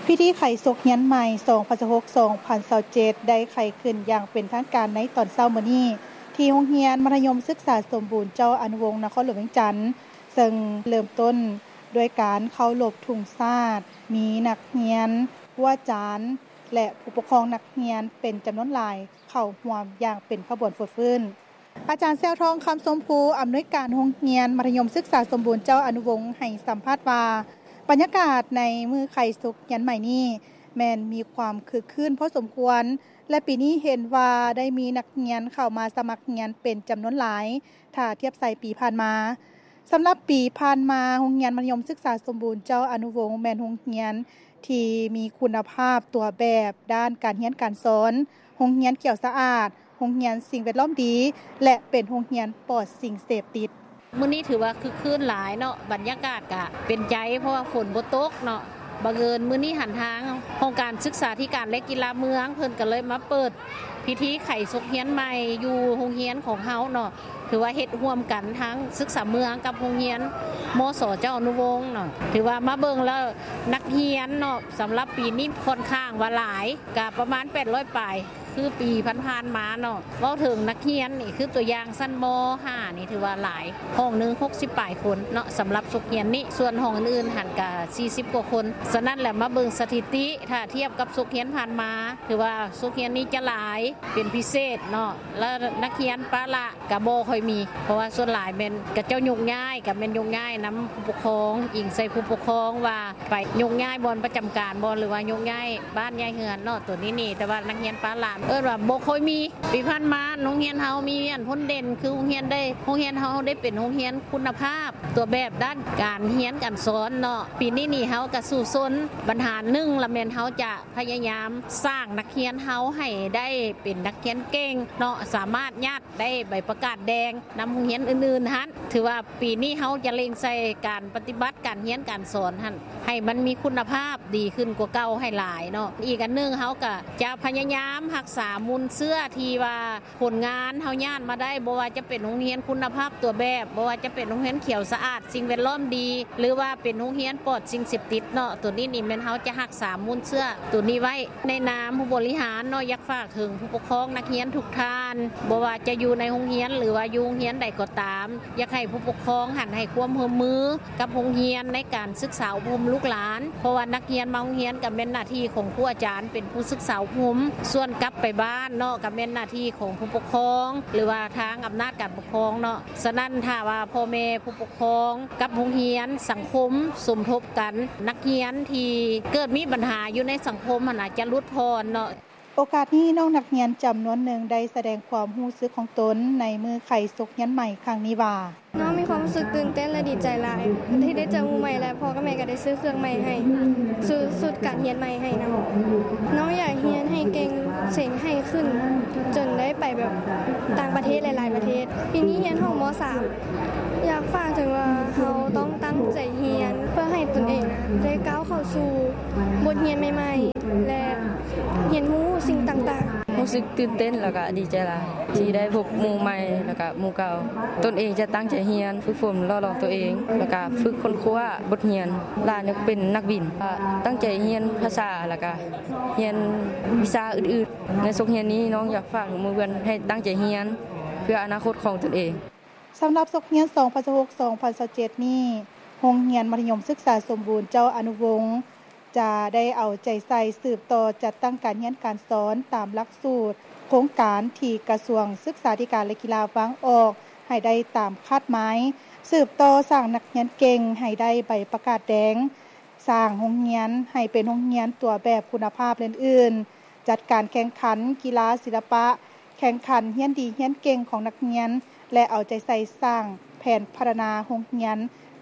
ພິທີໄຂສົກຮຽນໃໝ່ ສອງພັນຊາວຫົກ ສອງພັນຊາວເຈັດ ໄດ້ໄຂຂຶ້ນຢ່າງເປັນທາງການໃນຕອນເຊົ້າມື້ນີ້ ທີ່ໂຮງຮຽນມັດທະຍົມສຶກສາສົມບູນເຈົ້າອະນຸວົງ ນະຄອນຫຼວງວຽງຈັນ, ເຊິ່ງເລີ່ມຕົ້ນດ້ວຍການເຄົາລົບທຸງຊາດ, ມີນັກຮຽນ, ຄູອາຈານ ແລະ ຜູ້ປົກຄອງນັກຮຽນເປັນຈຳນວນຫຼາຍເຂົ້າຮ່ວມຢ່າງເປັນຂະບວນຟົດຟື້ນ. ອາຈານ ແຊວທອງ ຄຳຊົມພູ ອຳນວຍການໂຮງຮຽນມັດທະຍົມສຶກສາສົມບູນເຈົ້າອະນຸວົງ ໃຫ້ສຳພາດວ່າ ບັນຍາກາດໃນມື້ໄຂສົກຮຽນໃໝ່ນີ້ ແມ່ນມີຄວາມຄຶກຄື້ນພໍສົມຄວນ ແລະ ປີນີ້ເຫັນວ່າໄດ້ມີນັກຮຽນເຂົ້າມາສະໝັກຮຽນເປັນຈຳນວນຫຼາຍ ຖ້າທຽບໃສ່ປີຜ່ານມາ. ສຳລັບປີຜ່ານມາ, ໂຮງຮຽນມັດທະຍົມສຶກສາສົມບູນເຈົ້າອະນຸວົງ ແມ່ນໂຮງຮຽນທີ່ມີຄຸນນະພາບຕົວແບບດ້ານການຮຽນການສອນ, ໂຮງຮຽນຂຽວສະອາດ, ໂຮງຮຽນສິ່ງແວດລ້ອມດີ ແລະ ເປັນໂຮງຮຽນປອດສິ່ງເສບຕິດ. ມື້ນີ້ຖືວ່າຄຶກຄື້ນຫຼາຍເນາະ, ບັນຍາກາດກະເປັນໃຈ ເພາະວ່າຝົນບໍ່ຕົກເນາະ. ບັງເອີນມື້ນີ້ຫັ້ນ ທາງຫ້ອງການສຶກສາທິການ ແລະ ກິລາເມືອງ ເພິ່ນກະເລີຍມາເປີດພິທີໄຂສົກຮຽນໃໝ່ຢູ່ໂຮງຮຽນຂອງເຮົາເນາະ. ຖືວ່າເຮັດຮ່ວມກັນທັງສຶກສາເມືອງກັບໂຮງຮຽນ ມສ ເຈົ້າອະນຸວົງເນາະ. ຖືວ່າມາເບິ່ງແລ້ວ ນັກຮຽນເນາະ ສຳລັບປີນີ້ຂ້ອນຂ້າງວ່າຫຼາຍ, ກະປະມານແປດຮ້ອຍປາຍ ຄືປີຜ່ານໆມາເນາະ. ເວົ້າເຖິງນັກຮຽນນີ້ ຄືຕົວຢ່າງຊັ້ນ ມ ຫ້າ ນີ້ ຖືວ່າຫຼາຍ, ຫ້ອງໜຶ່ງຫົກສິບປາຍຄົນເນາະ ສຳລັບສົກຮຽນນີ້. ສ່ວນຫ້ອງອື່ນໆຫັ້ນກະສີ່ສິບກວ່າຄົນ. ສະນັ້ນແຫຼະ ມາເບິ່ງສະຖິຕິ ຖ້າທຽບກັບສົກຮຽນຜ່ານມາ ຖືວ່າສົກຮຽນນີ້ຈະຫຼາຍເປັນພິເສດເນາະ, ແລະ ນັກຮຽນປະລະກະບໍ່ຄ່ອຍ ມີ ເພາະວ່າສ່ວນຫຼາຍແມ່ນເຂົາເຈົ້າໂຍກຍ້າຍ ກໍແມ່ນໂຍກຍ້າຍນຳຜູ້ປົກຄອງ ອີງໃສ່ຜູ້ປົກຄອງວ່າໄປໂຍກຍ້າຍບ່ອນປະຈຳການບໍ່ ຫຼືວ່າໂຍກຍ້າຍບ້ານຍ້າຍເຮືອນເນາະ ໂຕນີ້ນີ້ ແຕ່ວ່ານັກຮຽນປ້າຫຼານ ເອີ້ນວ່າບໍ່ຄ່ອຍມີ. ປີຜ່ານມາໂຮງຮຽນເຮົາມີອັນພົ້ນເດັ່ນ ຄືໂຮງຮຽນໄດ້ ໂຮງຮຽນເຮົາໄດ້ເປັນໂຮງຮຽນຄຸນນະພາບ ຕົວແບບດ້ານການຮຽນການສອນເນາະ. ປີນີ້ນີ້ເຮົາກະສູ້ຊົນ ບັນຫາໜຶ່ງລະແມ່ນເຮົາຈະພະຍາຍາມສ້າງນັກຮຽນເຮົາໃຫ້ໄດ້ເປັນນັກຮຽນເກັ່ງເນາະ ສາມາດຍາດໄດ້ໃບປະກາດແດງນຳໂຮງຮຽນອື່ນໆຫັ້ນ. ຖືວ່າປີນີ້ເຮົາຈະເລັ່ງໃສ່ການປະຕິບັດການຮຽນການສອນຫັ້ນ ໃຫ້ມັນມີຄຸນນະພາບດີຂຶ້ນກວ່າເກົ່າໃຫ້ຫຼາຍເນາະ. ອີກອັນໜຶ່ງ ເຮົາກະຈະພະຍາຍາມຮັກສາມູນເຊື້ອທີ່ວ່າ ຜົນງານເຮົາຍາດມາໄດ້ ບໍ່ວ່າຈະເປັນໂຮງຮຽນຄຸນນະພາບຕົວແບບ ບໍ່ວ່າຈະເປັນໂຮງຮຽນຂຽວສະອາດ ສິ່ງແວດລ້ອມດີ ຫຼືວ່າເປັນໂຮງຮຽນປອດສິ່ງເສບຕິດເນາະ. ໂຕນີ້ນີ້ແມ່ນເຮົາຈະຮັກສາມູນເຊື້ອໂຕນີ້ໄວ້. ໃນນາມຜູ້ບໍລິຫານເນາະ ຢາກຝາກເຖິງຜູ້ປົກຄອງນັກຮຽນທຸກທ່ານ ບໍ່ວ່າຈະຢູ່ໃນໂຮງຮຽນ ຫຼືວ່າຢູ່ໂຮງຮຽນໃດກໍຕາມ ຢາກໃຫ້ຜູ້ປົກຄອງຫັ້ນໃຫ້ຄວາມຮ່ວມມື ກັບໂຮງຮຽນໃນການສຶກສາອົບຮົມລູກຫຼານ ເພາະວ່ານັກຮຽນມາໂຮງຮຽນກໍແມ່ນໜ້າທີ່ຂອງຄູອາຈານເປັນຜູ້ສຶກສາອົບຮົມ, ສ່ວນກັບໄປບ້ານເນາະ ກໍແມ່ນໜ້າທີ່ຂອງຜູ້ປົກຄອງ ຫຼືວ່າທາງອຳນາດການປົກຄອງເນາະ. ສະນັ້ນ ຖ້າວ່າພໍ່ແມ່ຜູ້ປົກຄອງກັບໂຮງຮຽນ, ສັງຄົມສົມທົບກັນ, ນັກຮຽນທີ່ເກີດມີບັນຫາຢູ່ໃນສັງຄົມຫັ້ນນະ ຈະຫຼຸດຜ່ອນເນາະ. ໂອກາດນີ້ ນ້ອງນັກຮຽນຈຳນວນໜຶ່ງໄດ້ສະແດງຄວາມຮູ້ສຶກຂອງຕົນໃນມື້ໄຂສົກຮຽນໃໝ່ຄັ້ງນີ້ວ່າ: ນ້ອງມີຄວາມຮູ້ສຶກຕື່ນເຕັ້ນ ແລະ ດີໃຈຫຼາຍທີ່ໄດ້ເຈີໝູ່ໃໝ່ ແລະ ພໍ່ກັບແມ່ກໍໄດ້ຊື້ເຄື່ອງໃໝ່ໃຫ້, ຊື້ຊຸດການຮຽນໃໝ່ໃຫ້ນຳ. ນ້ອງຢາກຮຽນໃຫ້ເກັ່ງເສັງໃຫ້ຂຶ້ນ ຈົນໄດ້ໄປແບບຕ່າງປະເທດຫຼາຍໆປະເທດ. ປີນີ້ຮຽນຮອດ ມໍສາມ ຢາກຝາກເຖິງວ່າເຮົາຕ້ອງຕັ້ງໃຈຮຽນ ເພື່ອໃຫ້ຕົນເອງນະໄດ້ກ້າວເຂົ້າສູ່ບົດຮຽນໃໝ່ໆ ແລະ ຮຽນຮູ້ສິ່ງຕ່າງໆ. ຮູ້ສຶກຕື່ນເຕັ້ນ ແລ້ວກະດີໃຈຫຼາຍທີ່ໄດ້ພົບໝູ່ໃໝ່ ແລ້ວກະໝູ່ເກົ່າ. ຕົນເອງຈະຕັ້ງໃຈຮຽນ, ຝຶກຝົນຫຼໍ່ຫຼອມຕົວເອງ ແລ້ວກະຝຶກຄົ້ນຄວ້າບົດຮຽນ. ຫຼານຢາກເປັນນັກບິນ, ຕັ້ງໃຈຮຽນພາສາ ແລ້ວກະຮຽນວິຊາອື່ນໆ. ໃນສົກຮຽນນີ້ ນ້ອງຢາກຝາກເຖິງໝູ່ເພື່ອນໃຫ້ຕັ້ງໃຈຮຽນ ເພື່ອອະນາຄົດຂອງຕົນເອງ. ສຳລັບສົກຮຽນ ສອງພັນຊາວຫົກ ສອງພັນຊາວເຈັດນີ້ ໂຮງຮຽນມັດທະຍົມສຶກສາສົມບູນເຈົ້າອະນຸວົງ ຈະໄດ້ເອົາໃຈໃສ່ສືບຕໍ່ຈັດຕັ້ງການຮຽນການສອນຕາມຫຼັກສູດໂຄງການທີ່ກະຊວງສຶກສາທິການ ແລະ ກິລາວາງອອກໃຫ້ໄດ້ຕາມຄາດໝາຍ, ສືບຕໍ່ສ້າງນັກຮຽນເກັ່ງໃຫ້ໄດ້ໃບປະກາດແດງ, ສ້າງໂຮງຮຽນໃຫ້ເປັນໂຮງຮຽນຕົວແບບຄຸນນະພາບເລື່ອນອື່ນ, ຈັດການແຂ່ງຂັນກິລາ, ສິລະປະ, ແຂ່ງຂັນຮຽນດີຮຽນເກັ່ງຂອງນັກຮຽນ ແລະ ເອົາໃຈໃສ່ສ້າງແຜນພັດທະນາໂຮງຮຽນ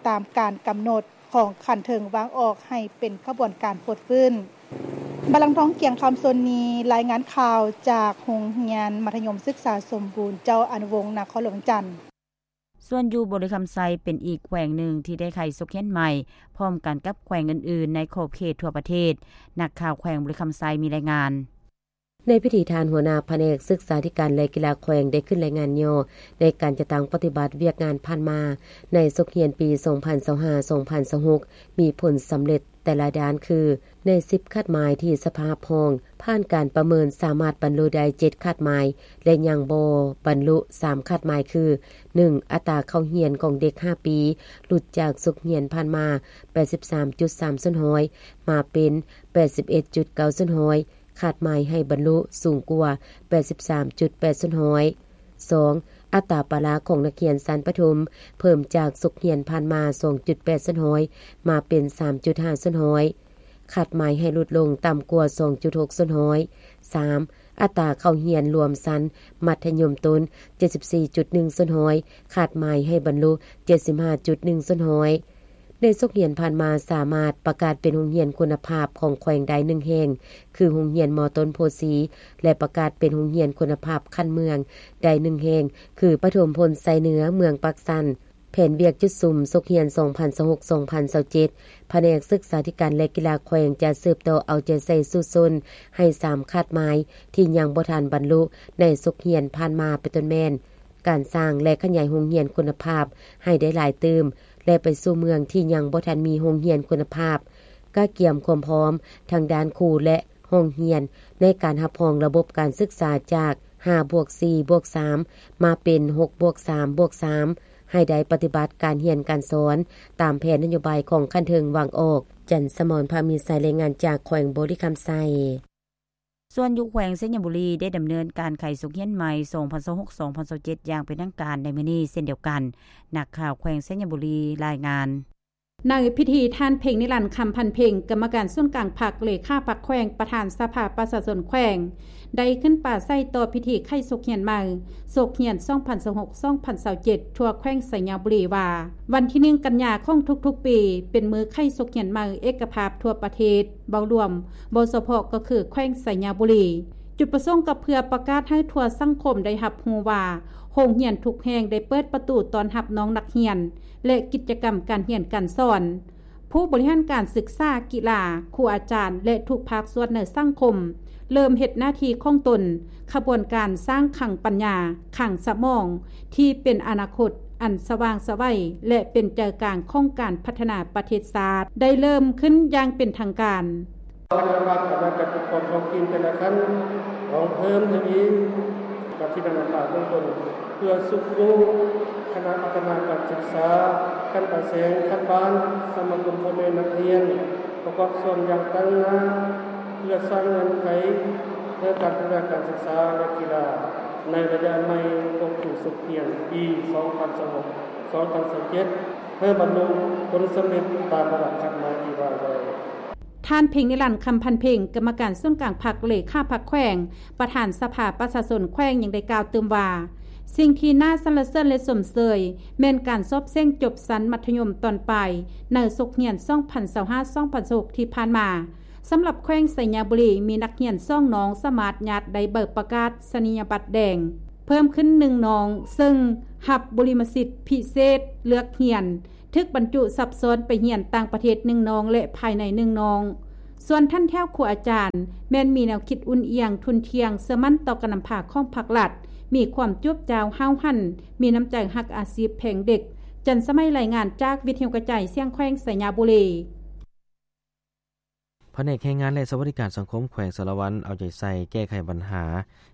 ຕາມການກຳນົດຂອງຂັ້ນເທິງວາງອອກໃຫ້ເປັນຂະບວນການຟົດຟື້ນ. ບາລັງທອງ ກຽງຄຳ ຊົນນີ ລາຍງານຂ່າວຈາກໂຮງຮຽນມັດທະຍົມສຶກສາສົມບູນເຈົ້າອະນຸວົງ ນະຄອນຫຼວງວຽງຈັນ. ສ່ວນຢູ່ບໍລິຄຳໄຊເປັນອີກແຂວງໜຶ່ງທີ່ໄດ້ໄຂສົກຮຽນໃໝ່ ພ້ອມກັນກັບແຂວງອື່ນໆໃນຂອບເຂດທົ່ວປະເທດ. ນັກຂ່າວແຂວງບໍລິຄຳໄຊມີລາຍງານ. ໃນພິທີ ທ່ານຫົວໜ້າພະແນກສຶກສາທິການ ແລະ ກິລາແຂວງໄດ້ຂຶ້ນລາຍງານຫຍໍ້ໃນການຈັດຕັ້ງປະຕິບັດວຽກງານຜ່ານມາໃນສົກຮຽນປີສອງພັນຊາວຫ້າ ສອງພັນຊາວຫົກ ມີຜົນສຳເລັດແຕ່ລະດ້ານຄື ໃນສິບຄາດໝາຍທີ່ສະພາຮັບຮອງຜ່ານການປະເມີນ ສາມາດບັນລຸໄດ້ເຈັດຄາດໝາຍ ແລະ ຍັງບໍ່ບັນລຸສາມຄາດໝາຍຄື ໜຶ່ງ ອັດຕາເຂົ້າຮຽນຂອງເດັກຫ້າປີ ຫຼຸດຈາກສົກຮຽນຜ່ານມາ ແປດສິບສາມຈຸດສາມສ່ວນຮ້ອຍ ມາເປັນ ແປດສິບເອັດຈຸດເກົ້າສ່ວນຮ້ອຍ ຄາດໝາຍໃຫ້ບັນລຸສູງກວ່າ ແປດສິບສາມຈຸດແປດສ່ວນຮ້ອຍ. ສອງ ອັດຕາປາລະຂອງນັກຮຽນຊັ້ນປະຖົມ ເພີ່ມຈາກສົກຮຽນຜ່ານມາ ສອງຈຸດແປດສ່ວນຮ້ອຍ ມາເປັນ ສາມຈຸດຫ້າສ່ວນຮ້ອຍ ຄາດໝາຍໃຫ້ຫຼຸດລົງຕ່ຳກວ່າ ສອງຈຸດຫົກສ່ວນຮ້ອຍ. ສາມ ອັດຕາເຂົ້າຮຽນລວມຊັ້ນມັດທະຍົມຕົ້ນ ເຈັດສິບສີ່ຈຸດໜຶ່ງສ່ວນຮ້ອຍ ຄາດໝາຍໃຫ້ບັນລຸ ເຈັດສິບຫ້າຈຸດໜຶ່ງສ່ວນຮ້ອຍ. ໃນສົກຮຽນຜ່ານມາ ສາມາດປະກາດເປັນໂຮງຮຽນຄຸນນະພາບຂອງແຂວງໄດ້ໜຶ່ງແຫ່ງ ຄືໂຮງຮຽນ ມ.ຕົ້ນໂພສີ ແລະ ປະກາດເປັນໂຮງຮຽນຄຸນນະພາບຂັ້ນເມືອງໄດ້ໜຶ່ງແຫ່ງ ຄືປະຖົມພົນໄຊເໜືອ ເມືອງປາກຊັນ. ແຜນວຽກຈຸດສຸມສົກຮຽນ ສອງພັນຊາວຫົກ ສອງພັນຊາວເຈັດ ພະແນກສຶກສາທິການ ແລະ ກິລາແຂວງ ຈະສືບຕໍ່ເອົາໃຈໃສ່ສູ້ຊົນໃຫ້ສາມຄາດໝາຍທີ່ຍັງບໍ່ທັນບັນລຸໃນສົກຮຽນຜ່ານມາ ເປັນຕົ້ນແມ່ນ ການສ້າງ ແລະ ຂະຫຍາຍໂຮງຮຽນຄຸນນະພາບໃຫ້ໄດ້ຫຼາຍຕື່ມ ແລະ ໄປສູ່ເມືອງທີ່ຍັງບໍ່ທັນມີໂຮງຮຽນຄຸນນະພາບ, ກະກຽມຄວາມພ້ອມທາງດ້ານຄູ ແລະ ຫ້ອງຮຽນ ໃນການຮັບຮອງລະບົບການສຶກສາຈາກ ຫ້າບວກສີ່ບວກສາມ ມາເປັນ ຫົກບວກສາມບວກສາມ ໃຫ້ໄດ້ປະຕິບັດການຮຽນການສອນຕາມແຜນນະໂຍບາຍຂອງຂັ້ນເທິງວາງອອກ. ຈັນສະໝອນ ພາມີໄຊ ລາຍງານຈາກແຂວງບໍລິຄຳໄຊ. ສ່ວນຢູ່ແຂວງໄຊຍະບູລີ ໄດ້ດຳເນີນການໄຂສົກຮຽນໃໝ່ ສອງພັນຊາວຫົກ ສອງພັນຊາວເຈັດ ຢ່າງເປັນທາງການໃນມື້ນີ້ເຊັ່ນດຽວກັນ. ນັກຂ່າວແຂວງໄຊຍະບູລີລາຍງານ. ໃນພິທີ ທ່ານ ເພັງນິລັນ ຄຳພັນເພັງ ກຳມະການສູນກາງພັກ, ເລຂາພັກແຂວງ, ປະທານສະພາປະຊາຊົນແຂວງ ໄດ້ຂຶ້ນປາໄສຕໍ່ພິທີໄຂສົກຮຽນໃໝ່ ສົກຮຽນ ສອງພັນຊາວຫົກ ສອງພັນຊາວເຈັດ ທົ່ວແຂວງໄຊຍະບູລີວ່າ ວັນທີໜຶ່ງ ກັນຍາຂອງທຸກໆປີ ເປັນມື້ໄຂສົກຮຽນໃໝ່ເອກະພາບທົ່ວປະເທດ ເວົ້າລວມ, ເວົ້າສະເພາະກໍຄືແຂວງໄຊຍະບູລີ. ຈຸດປະສົງກໍເພື່ອປະກາດໃຫ້ທົ່ວສັງຄົມໄດ້ຮັບຮູ້ວ່າ ໂຮງຮຽນທຸກແຫ່ງໄດ້ເປີດປະຕູຕ້ອນຮັບນ້ອງນັກຮຽນ ແລະ ກິດຈະກຳການຮຽນການສອນ. ຜູ້ບໍລິຫານການສຶກສາ, ກິລາ, ຄູອາຈານ ແລະ ທຸກພາກສ່ວນໃນສັງຄົມ ເລີ່ມເຮັດໜ້າທີ່ຂອງຕົນ, ຂະບວນການສ້າງຄັງປັນຍາ, ຄັງສະໝອງ ທີ່ເປັນອະນາຄົດອັນສະຫວ່າງໄສວ ແລະ ເປັນໃຈກາງຂອງການພັດທະນາປະເທດຊາດ ໄດ້ເລີ່ມຂຶ້ນຢ່າງເປັນທາງການ. ຄະນະກຳມະການຈັດຕັ້ງການປົກຄອງທ້ອງຖິ່ນແຕ່ລະຂັ້ນ ຕ້ອງເພີ່ມທະວີການທີ່ນຳພາເບື້ອງຕົ້ນ ເພື່ອຊຸກຍູ້ຄະນະພັດທະນາການສຶກສາຂັ້ນປາຍແສງ, ຂັ້ນບ້ານ, ສະມາຄົມພໍ່ແມ່ນັກຮຽນ ປະກອບສ່ວນຢ່າງຕັ້ງໜ້າ ເພື່ອສ້າງເງື່ອນໄຂໃຫ້ການພັດທະນາການສຶກສາ ແລະ ກິລາ ໃນໄລຍະໃໝ່ຂອງປີສົກຮຽນປີສອງພັນຊາວຫົກ ສອງພັນຊາວເຈັດ ໃຫ້ບັນລຸຜົນສຳເລັດຕາມລະດັບຄາດໝາຍທີ່ວາງໄວ້. ທ່ານ ເພັງນິລັນ ຄຳພັນເພັງ ກຳມະການສູນກາງພັກ, ເລຂາພັກແຂວງ, ປະທານສະພາປະຊາຊົນແຂວງ ຍັງໄດ້ກ່າວຕື່ມວ່າ ສິ່ງທີ່ໜ້າສັນລະເສີນ ແລະ ຊົມເຊີຍ ແມ່ນການສອບເສັງຈົບຊັ້ນມັດທະຍົມຕອນປາຍໃນສົກຮຽນ ສອງພັນຊາວຫ້າ ສອງພັນຊາວຫົກ ທີ່ຜ່ານມາ. ສຳລັບແຂວງໄຊຍະບູລີ ມີນັກຮຽນສອງນ້ອງສາມາດຍາດໄດ້ໃບປະກາດສະນີຍະບັດແດງເພີ່ມຂຶ້ນໜຶ່ງນ້ອງ, ເຊິ່ງຮັບບຸລິມະສິດພິເສດເລືອກຮຽນ, ຖືກບັນຈຸຊັບຊ້ອນໄປຮຽນຕ່າງປະເທດໜຶ່ງນ້ອງ ແລະ ພາຍໃນໜຶ່ງນ້ອງ. ສ່ວນຖັນແຖວຄູອາຈານ ແມ່ນມີແນວຄິດອຸ່ນອຽງ, ທຸ່ນທ່ຽງ, ເຊື່ອໝັ້ນຕໍ່ການນຳພາຂອງພັກລັດ, ມີຄວາມຈວບຈ້າວຫ້າວຫັນ, ມີນ້ຳໃຈຮັກອາຊີບ, ແພງເດັກ. ຈັນສະໄໝ ລາຍງານຈາກວິທະຍຸກະຈາຍສຽງແຂວງໄຊຍະບູລີ. ພະແນກແຮງງານ ແລະ ສະຫວັດດີການສັງຄົມແຂວງສາລະວັນ ເອົາໃຈໃສ່ແກ້ໄຂບັນຫາ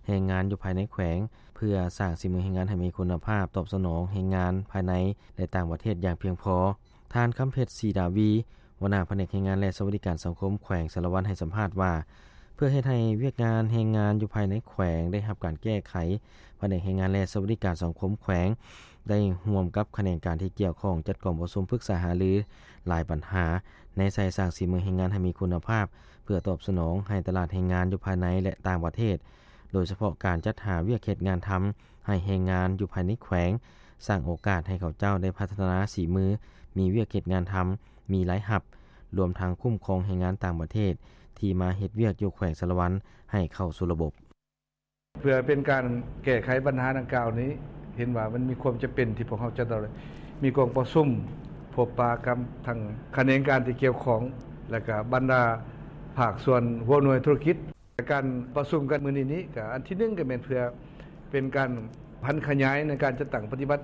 ແຮງງານຢູ່ພາຍໃນແຂວງ ເພື່ອສ້າງສີມືແຮງງານໃຫ້ມີຄຸນນະພາບ, ຕອບສະໜອງແຮງງານພາຍໃນ ແລະ ຕ່າງປະເທດຢ່າງພຽງພໍ. ທ່ານ ຄຳເພັດ ສີດາວີ ຫົວໜ້າພະແນກແຮງງານ ແລະ ສະຫວັດດີການສັງຄົມແຂວງສາລະວັນ ໃຫ້ສຳພາດວ່າ ເພື່ອເຮັດໃຫ້ວຽກງານແຮງງານຢູ່ພາຍໃນແຂວງໄດ້ຮັບການແກ້ໄຂ, ພະແນກແຮງງານ ແລະ ສະຫວັດດີການສັງຄົມແຂວງ ໄດ້ຮ່ວມກັບຂະແໜງການທີ່ກ່ຽວຂ້ອງ ຈັດກອງປະຊຸມປຶກສາຫາລືຫຼາຍບັນຫາ ແນໃສ່ສ້າງສີມືແຮງງານໃຫ້ມີຄຸນນະພາບ ເພື່ອຕອບສະໜອງໃຫ້ຕະຫຼາດແຮງງານຢູ່ພາຍໃນ ແລະ ຕ່າງປະເທດ, ໂດຍສະເພາະການຈັດຫາວຽກເຮັດງານທຳໃຫ້ແຮງງານຢູ່ພາຍໃນແຂວງ, ສ້າງໂອກາດໃຫ້ເຂົາເຈົ້າໄດ້ພັດທະນາສີມື, ມີວຽກເຮັດງານທຳ, ມີລາຍຮັບ, ລວມທັງຄຸ້ມຄອງແຮງງານຕ່າງປະເທດທີ່ມາເຮັດວຽກຢູ່ແຂວງສາລະວັນໃຫ້ເຂົ້າສູ່ລະບົບ. ເພື່ອເປັນການແກ້ໄຂບັນຫາດັ່ງກ່າວນີ້ ເຫັນວ່າມັນມີຄວາມຈຳເປັນທີ່ພວກເຮົາຈະຕ້ອງໄດ້ມີກອງປະຊຸມພົບປະກັບທັງຂະແໜງການທີ່ກ່ຽວຂ້ອງ ແລະ ກະບັນດາພາກສ່ວນຫົວໜ່ວຍທຸລະກິດ. ການປະຊຸມກັນມື້ນີ້ນີ້ ກະອັນທີໜຶ່ງ ກະແມ່ນເພື່ອເປັນການຜັນຂະຫຍາຍໃນການຈັດຕັ້ງປະຕິບັດ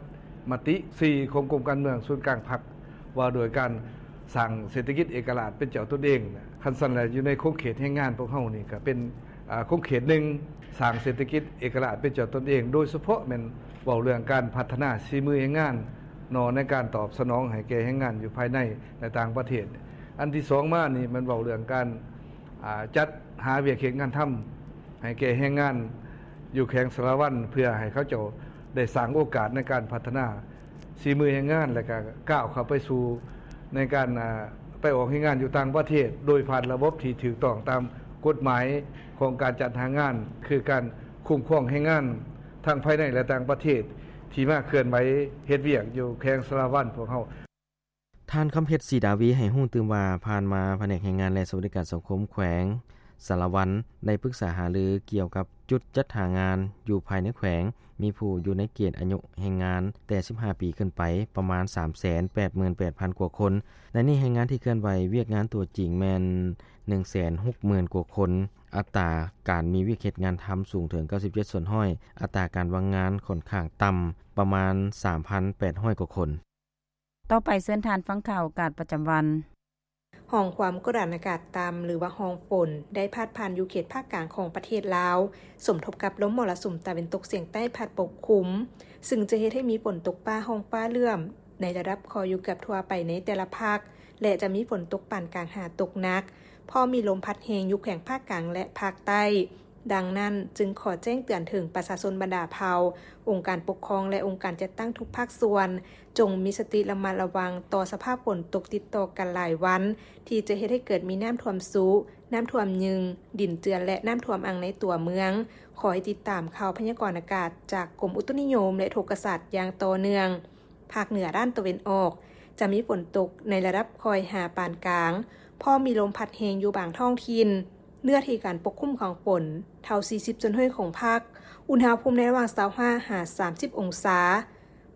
ມະຕິສີ່ຂອງກົມການເມືອງສູນກາງພັກ ວ່າໂດຍການສ້າງເສດຖະກິດເອກະລາດເປັນເຈົ້າຕົນເອງ. ຄັນຊັ້ນແລ້ວ ຢູ່ໃນຂົງເຂດແຮງງານພວກເຮົານີ້ກະເປັນ ອາ ຂົງເຂດໜຶ່ງ ສ້າງເສດຖະກິດເອກະລາດເປັນເຈົ້າຕົນເອງ, ໂດຍສະເພາະແມ່ນເວົ້າເລື່ອງການພັດທະນາສີມືແຮງງານເນາະ ໃນການຕອບສະໜອງໃຫ້ແກ່ແຮງງານຢູ່ພາຍໃນ ແລະ ຕ່າງປະເທດ. ອັນທີສອງມານີ້ແມ່ນເວົ້າເລື່ອງການ ອາ ຈັດຫາວຽກເຮັດງານທຳໃຫ້ແກ່ແຮງງານ ຢູ່ແຂວງສາລະວັນ ເພື່ອໃຫ້ເຂົາເຈົ້າໄດ້ສ້າງໂອກາດໃນການພັດທະນາສີມືແຮງງານ ແລະ ກະກ້າວເຂົ້າໄປສູ່ໃນການ ອາ ໄປອອກແຮງງານຢູ່ຕ່າງປະເທດ ໂດຍຜ່ານລະບົບທີ່ຖືກຕ້ອງຕາມກົດໝາຍຂອງການຈັດຫາງານ ຄືການຄຸ້ມຄອງແຮງງານທັງພາຍໃນ ແລະ ຕ່າງປະເທດ ທີ່ມາເຄື່ອນໄຫວເຮັດວຽກຢູ່ແຂວງສາລະວັນພວກເຮົາ. ທ່ານ ຄຳເພັດ ສີດາວີ ໃຫ້ຮູ້ຕື່ມວ່າ ຜ່ານມາພະແນກແຮງງານ ແລະ ສະຫວັດດີການສັງຄົມແຂວງສາລະວັນ ໄດ້ປຶກສາຫາລືກ່ຽວກັບຈຸດຈັດຫາງານຢູ່ພາຍໃນແຂວງ, ມີຜູ້ຢູ່ໃນເກນອາຍຸແຮງງານແຕ່ສິບຫ້າປີຂຶ້ນໄປ ປະມານສາມແສນແປດໝື່ນແປດພັນກວ່າຄົນ. ໃນນີ້ແຮງງານທີ່ເຄື່ອນໄຫວວຽກງານຕົວຈິງແມ່ນໜຶ່ງແສນຫົກໝື່ນກວ່າຄົນ. ອັດຕາການມີວຽກເຮັດງານທຳສູງເຖິງເກົ້າສິບເຈັດສ່ວນຮ້ອຍ, ອັດຕາການວ່າງງານຂ້ອນຂ້າງຕ່ຳ ປະມານສາມພັນແປດຮ້ອຍກວ່າຄົນ. ຕໍ່ໄປເຊີນທ່ານຟັງຂ່າວໂອກາດປະຈຳວັນ. ຮ່ອງຄວາມກົດອາກາດຕ່ຳ ຫຼືວ່າຮ່ອງຝົນ ໄດ້ພາດຜ່ານຢູ່ເຂດພາກກາງຂອງປະເທດລາວ, ສົມທົບກັບລົມມໍລະສຸມຕາເວັນຕົກສຽງໃຕ້ພັດປົກຄຸມ, ຊຶ່ງຈະເຮັດໃຫ້ມີຝົນຕົກຟ້າຮ້ອງຟ້າເຫຼື້ອມ ໃນລະດັບພໍຢູ່ເກືອບທົ່ວໄປໃນແຕ່ລະພາກ ແລະ ຈະມີຝົນຕົກປານກາງຫາຕົກໜັກ. ພ້ອມມີລົມພັດແຮງຢູ່ແຂວງພາກກາງ ແລະ ພາກໃຕ້. ດັ່ງນັ້ນ, ຈຶ່ງຂໍແຈ້ງເຕືອນເຖິງປະຊາຊົນບັນດາເຜົ່າ, ອົງການປົກຄອງ ແລະ ອົງການຈັດຕັ້ງທຸກພາກສ່ວນ, ຈົ່ງມີສະຕິລະມັດລະວັງຕໍ່ສະພາບຝົນຕົກຕິດຕໍ່ກັນຫຼາຍວັນ, ທີ່ຈະເຮັດໃຫ້ເກີດມີນ້ຳຖ້ວມຊຸ, ນ້ຳຖ້ວມຍືງ, ດິນເຈື່ອນ ແລະ ນ້ຳຖ້ວມອັ່ງໃນຕົວເມືອງ. ຂໍໃຫ້ຕິດຕາມຂ່າວພະຍາກອນອາກາດຈາກກົມອຸຕຸນິຍົມ ແລະ ອຸທົກກະສາດຢ່າງຕໍ່ເນື່ອງ. ພາກເໜືອດ້ານຕາເວັນອອກ ຈະມີຝົນຕົກໃນລະດັບຄ່ອຍຫາປານກາງ, ພ້ອມມີລົມພັດແຮງຢູ່ບາງທ້ອງຖິ່ນ. ເນື້ອທີ່ການປົກຄຸມຂອງຝົນ ເທົ່າ ສີ່ສິບສ່ວນຮ້ອຍຂອງພາກ, ອຸນຫະພູມໃນລະຫວ່າງ ຊາວຫ້າ ຫາ ສາມສິບ ອົງສາ.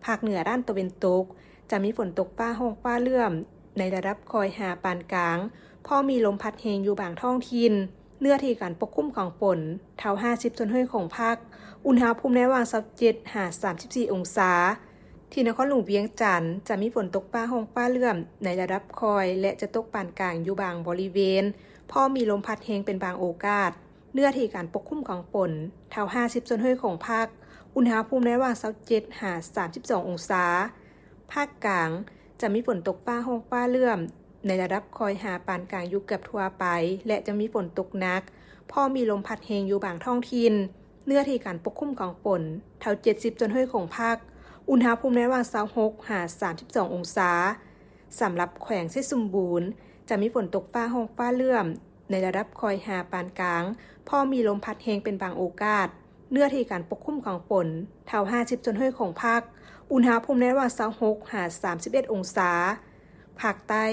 ພາກເໜືອດ້ານຕາເວັນຕົກ ຈະມີຝົນຕົກຟ້າຮ້ອງຟ້າເຫຼື້ອມ ໃນລະດັບຄ່ອຍຫາປານກາງ, ພ້ອມມີລົມພັດແຮງຢູ່ບາງທ້ອງຖິ່ນ. ເນື້ອທີ່ການປົກຄຸມຂອງຝົນ ເທົ່າ ຫ້າສິບສ່ວນຮ້ອຍຂອງພາກ, ອຸນຫະພູມໃນລະຫວ່າງ ຊາວເຈັດ ຫາ ສາມສິບສີ່ ອົງສາ. ທີ່ນະຄອນຫຼວງວຽງຈັນ ຈະມີຝົນຕົກຟ້າຮ້ອງຟ້າເຫຼື້ອມ ໃນລະດັບຄ່ອຍ ແລະ ຈະຕົກປານກາງຢູ່ບາງບໍລິເວນ, ພ້ອມມີລົມພັດແຮງເປັນບາງໂອກາດ. ເນື້ອທີ່ການປົກຄຸມຂອງຝົນ ເທົ່າ ຫ້າສິບສ່ວນຮ້ອຍຂອງພາກ, ອຸນຫະພູມໃນລະຫວ່າງ ຊາວເຈັດ ຫາ ສາມສິບສອງ ອົງສາ. ພາກກາງ ຈະມີຝົນຕົກຟ້າຮ້ອງຟ້າເຫຼື້ອມ ໃນລະດັບຄ່ອຍຫາປານກາງຢູ່ເກືອບທົ່ວໄປ ແລະ ຈະມີຝົນຕົກໜັກ, ພ້ອມມີລົມພັດແຮງຢູ່ບາງທ້ອງຖິ່ນ. ເນື້ອທີ່ການປົກຄຸມຂອງຝົນ ເທົ່າ ເຈັດສິບສ່ວນຮ້ອຍຂອງພາກ, ອຸນຫະພູມໃນລະຫວ່າງ ຊາວຫົກ ຫາ ສາມສິບສອງ ອົງສາ. ສຳລັບແຂວງໄຊສົມບູນ ຈະມີຝົນຕົກຟ້າຮ້ອງຟ້າເຫຼື້ອມ ໃນລະດັບຄ່ອຍຫາປານກາງ, ພ້ອມມີລົມພັດແຮງເປັນບາງໂອກາດ. ເນື້ອທີ່ການປົກຄຸມຂອງຝົນ ເທົ່າ ຫ້າສິບສ່ວນຮ້ອຍຂອງພາກ, ອຸນຫະພູມໃນລະຫວ່າງ ຊາວຫົກ ຫາ ສາມສິບເອັດ ອົງສາ. ພາກໃຕ້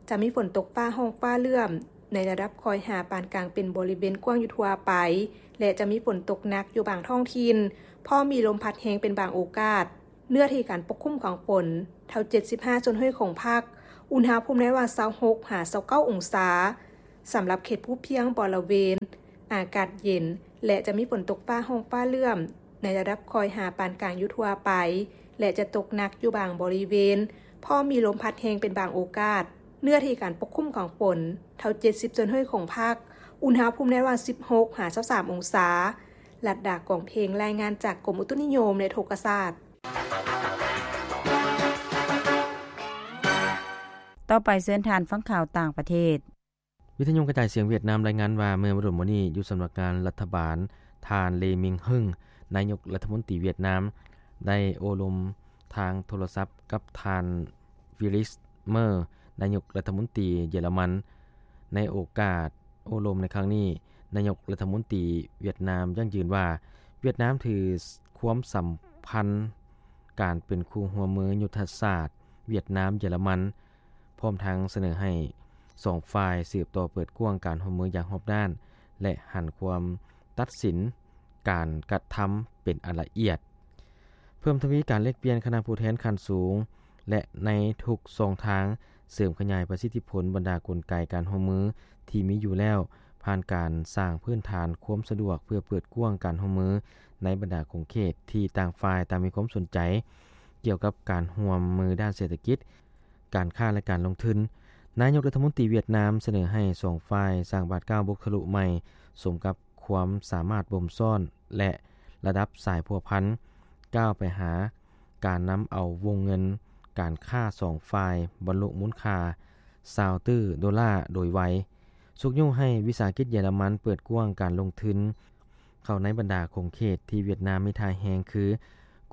ຈະມີຝົນຕົກຟ້າຮ້ອງຟ້າເຫຼື້ອມ ໃນລະດັບຄ່ອຍຫາປານກາງເປັນບໍລິເວນກວ້າງຢູ່ທົ່ວໄປ ແລະ ຈະມີຝົນຕົກໜັກຢູ່ບາງທ້ອງຖິ່ນ, ພ້ອມມີລົມພັດແຮງເປັນບາງໂອກາດ. ເນື້ອທີ່ການປົກຄຸມຂອງຝົນ ເທົ່າ ເຈັດສິບຫ້າສ່ວນຮ້ອຍຂອງພາກ, ອຸນຫະພູມໃນລະຫວ່າງ ຊາວຫົກ ຫາ ຊາວເກົ້າ ອົງສາ. ສຳລັບເຂດພູພຽງບໍລະເວນ ອາກາດເຢັນ ແລະ ຈະມີຝົນຕົກຟ້າຮ້ອງຟ້າເຫຼື້ອມ ໃນລະດັບຄ່ອຍຫາປານກາງຢູ່ທົ່ວໄປ ແລະ ຈະຕົກໜັກຢູ່ບາງບໍລິເວນ, ພ້ອມມີລົມພັດແຮງເປັນບາງໂອກາດ. ເນື້ອທີ່ການປົກຄຸມຂອງຝົນ ເທົ່າ ເຈັດສິບສ່ວນຮ້ອຍຂອງພາກ, ອຸນຫະພູມໃນລະຫວ່າງ ສິບຫົກ ຫາ ຊາວສາມ ອົງສາ. ລັດດາ ກອງເພັງ ລາຍງານຈາກກົມອຸຕຸນິຍົມ ແລະ ອຸທົກກະສາດ. ຕໍ່ໄປເຊີນທ່ານຟັງຂ່າວຕ່າງປະເທດ. ວິທະຍຸກະຈາຍສຽງຫວຽດນາມລາຍງານວ່າ ເມື່ອບໍ່ດົນມານີ້ ຢູ່ສຳນັກງານລັດຖະບານ, ທ່ານ ເລ ມິງ ເຮິງ ນາຍົກລັດຖະມົນຕີຫວຽດນາມ ໄດ້ໂອ້ລົມທາງໂທລະສັບກັບທ່ານ ຟຣີດຣິດ ເມີ ນາຍົກລັດຖະມົນຕີເຢຍລະມັນ. ໃນໂອກາດໂອ້ລົມໃນຄັ້ງນີ້, ນາຍົກລັດຖະມົນຕີຫວຽດນາມຢັ້ງຢືນວ່າ ຫວຽດນາມຖືຄວາມສຳພັນການເປັນຄູ່ຮ່ວມມືຍຸດທະສາດຫວຽດນາມ-ເຢຍລະມັນ, ພ້ອມທັງສະເໜີໃຫ້ສອງຝ່າຍສືບຕໍ່ເປີດກວ້າງການຮ່ວມມືຢ່າງຮອບດ້ານ ແລະ ຫັນຄວາມຕັດສິນການກະທຳເປັນອັນລະອຽດ, ເພີ່ມທະວີການແລກປ່ຽນຄະນະຜູ້ແທນຂັ້ນສູງ ແລະ ໃນທຸກຊ່ອງທາງ ເສີມຂະຫຍາຍປະສິດທິຜົນບັນດາກົນໄກການຮ່ວມມືທີ່ມີຢູ່ແລ້ວ, ຜ່ານການສ້າງພື້ນຖານຄວາມສະດວກເພື່ອເປີດກວ້າງການຮ່ວມມືໃນບັນດາຂົງເຂດທີ່ຕ່າງຝ່າຍຕ່າງມີຄວາມສົນໃຈ ກ່ຽວກັບການຮ່ວມມືດ້ານເສດຖະກິດ, ການຄ້າ ແລະ ການລົງທຶນ. ນາຍົກລັດຖະມົນຕີຫວຽດນາມສະເໜີໃຫ້ສອງຝ່າຍສ້າງບາດກ້າວບຸກທະລຸໃໝ່ ສົມກັບຄວາມສາມາດບົ່ມຊ້ອນ ແລະ ລະດັບສາຍພົວພັນ ກ້າວໄປຫາການນຳເອົາວົງເງິນການຄ້າສອງຝ່າຍບັນລຸມູນຄ່າຊາວຕື້ໂດລາໂດຍໄວ, ຊຸກຍູ້ໃຫ້ວິສາຫະກິດເຢຍລະມັນເປີດກວ້າງການລົງທຶນເຂົ້າໃນບັນດາຂົງເຂດທີ່ຫວຽດນາມມີທ່າແຮງ ຄື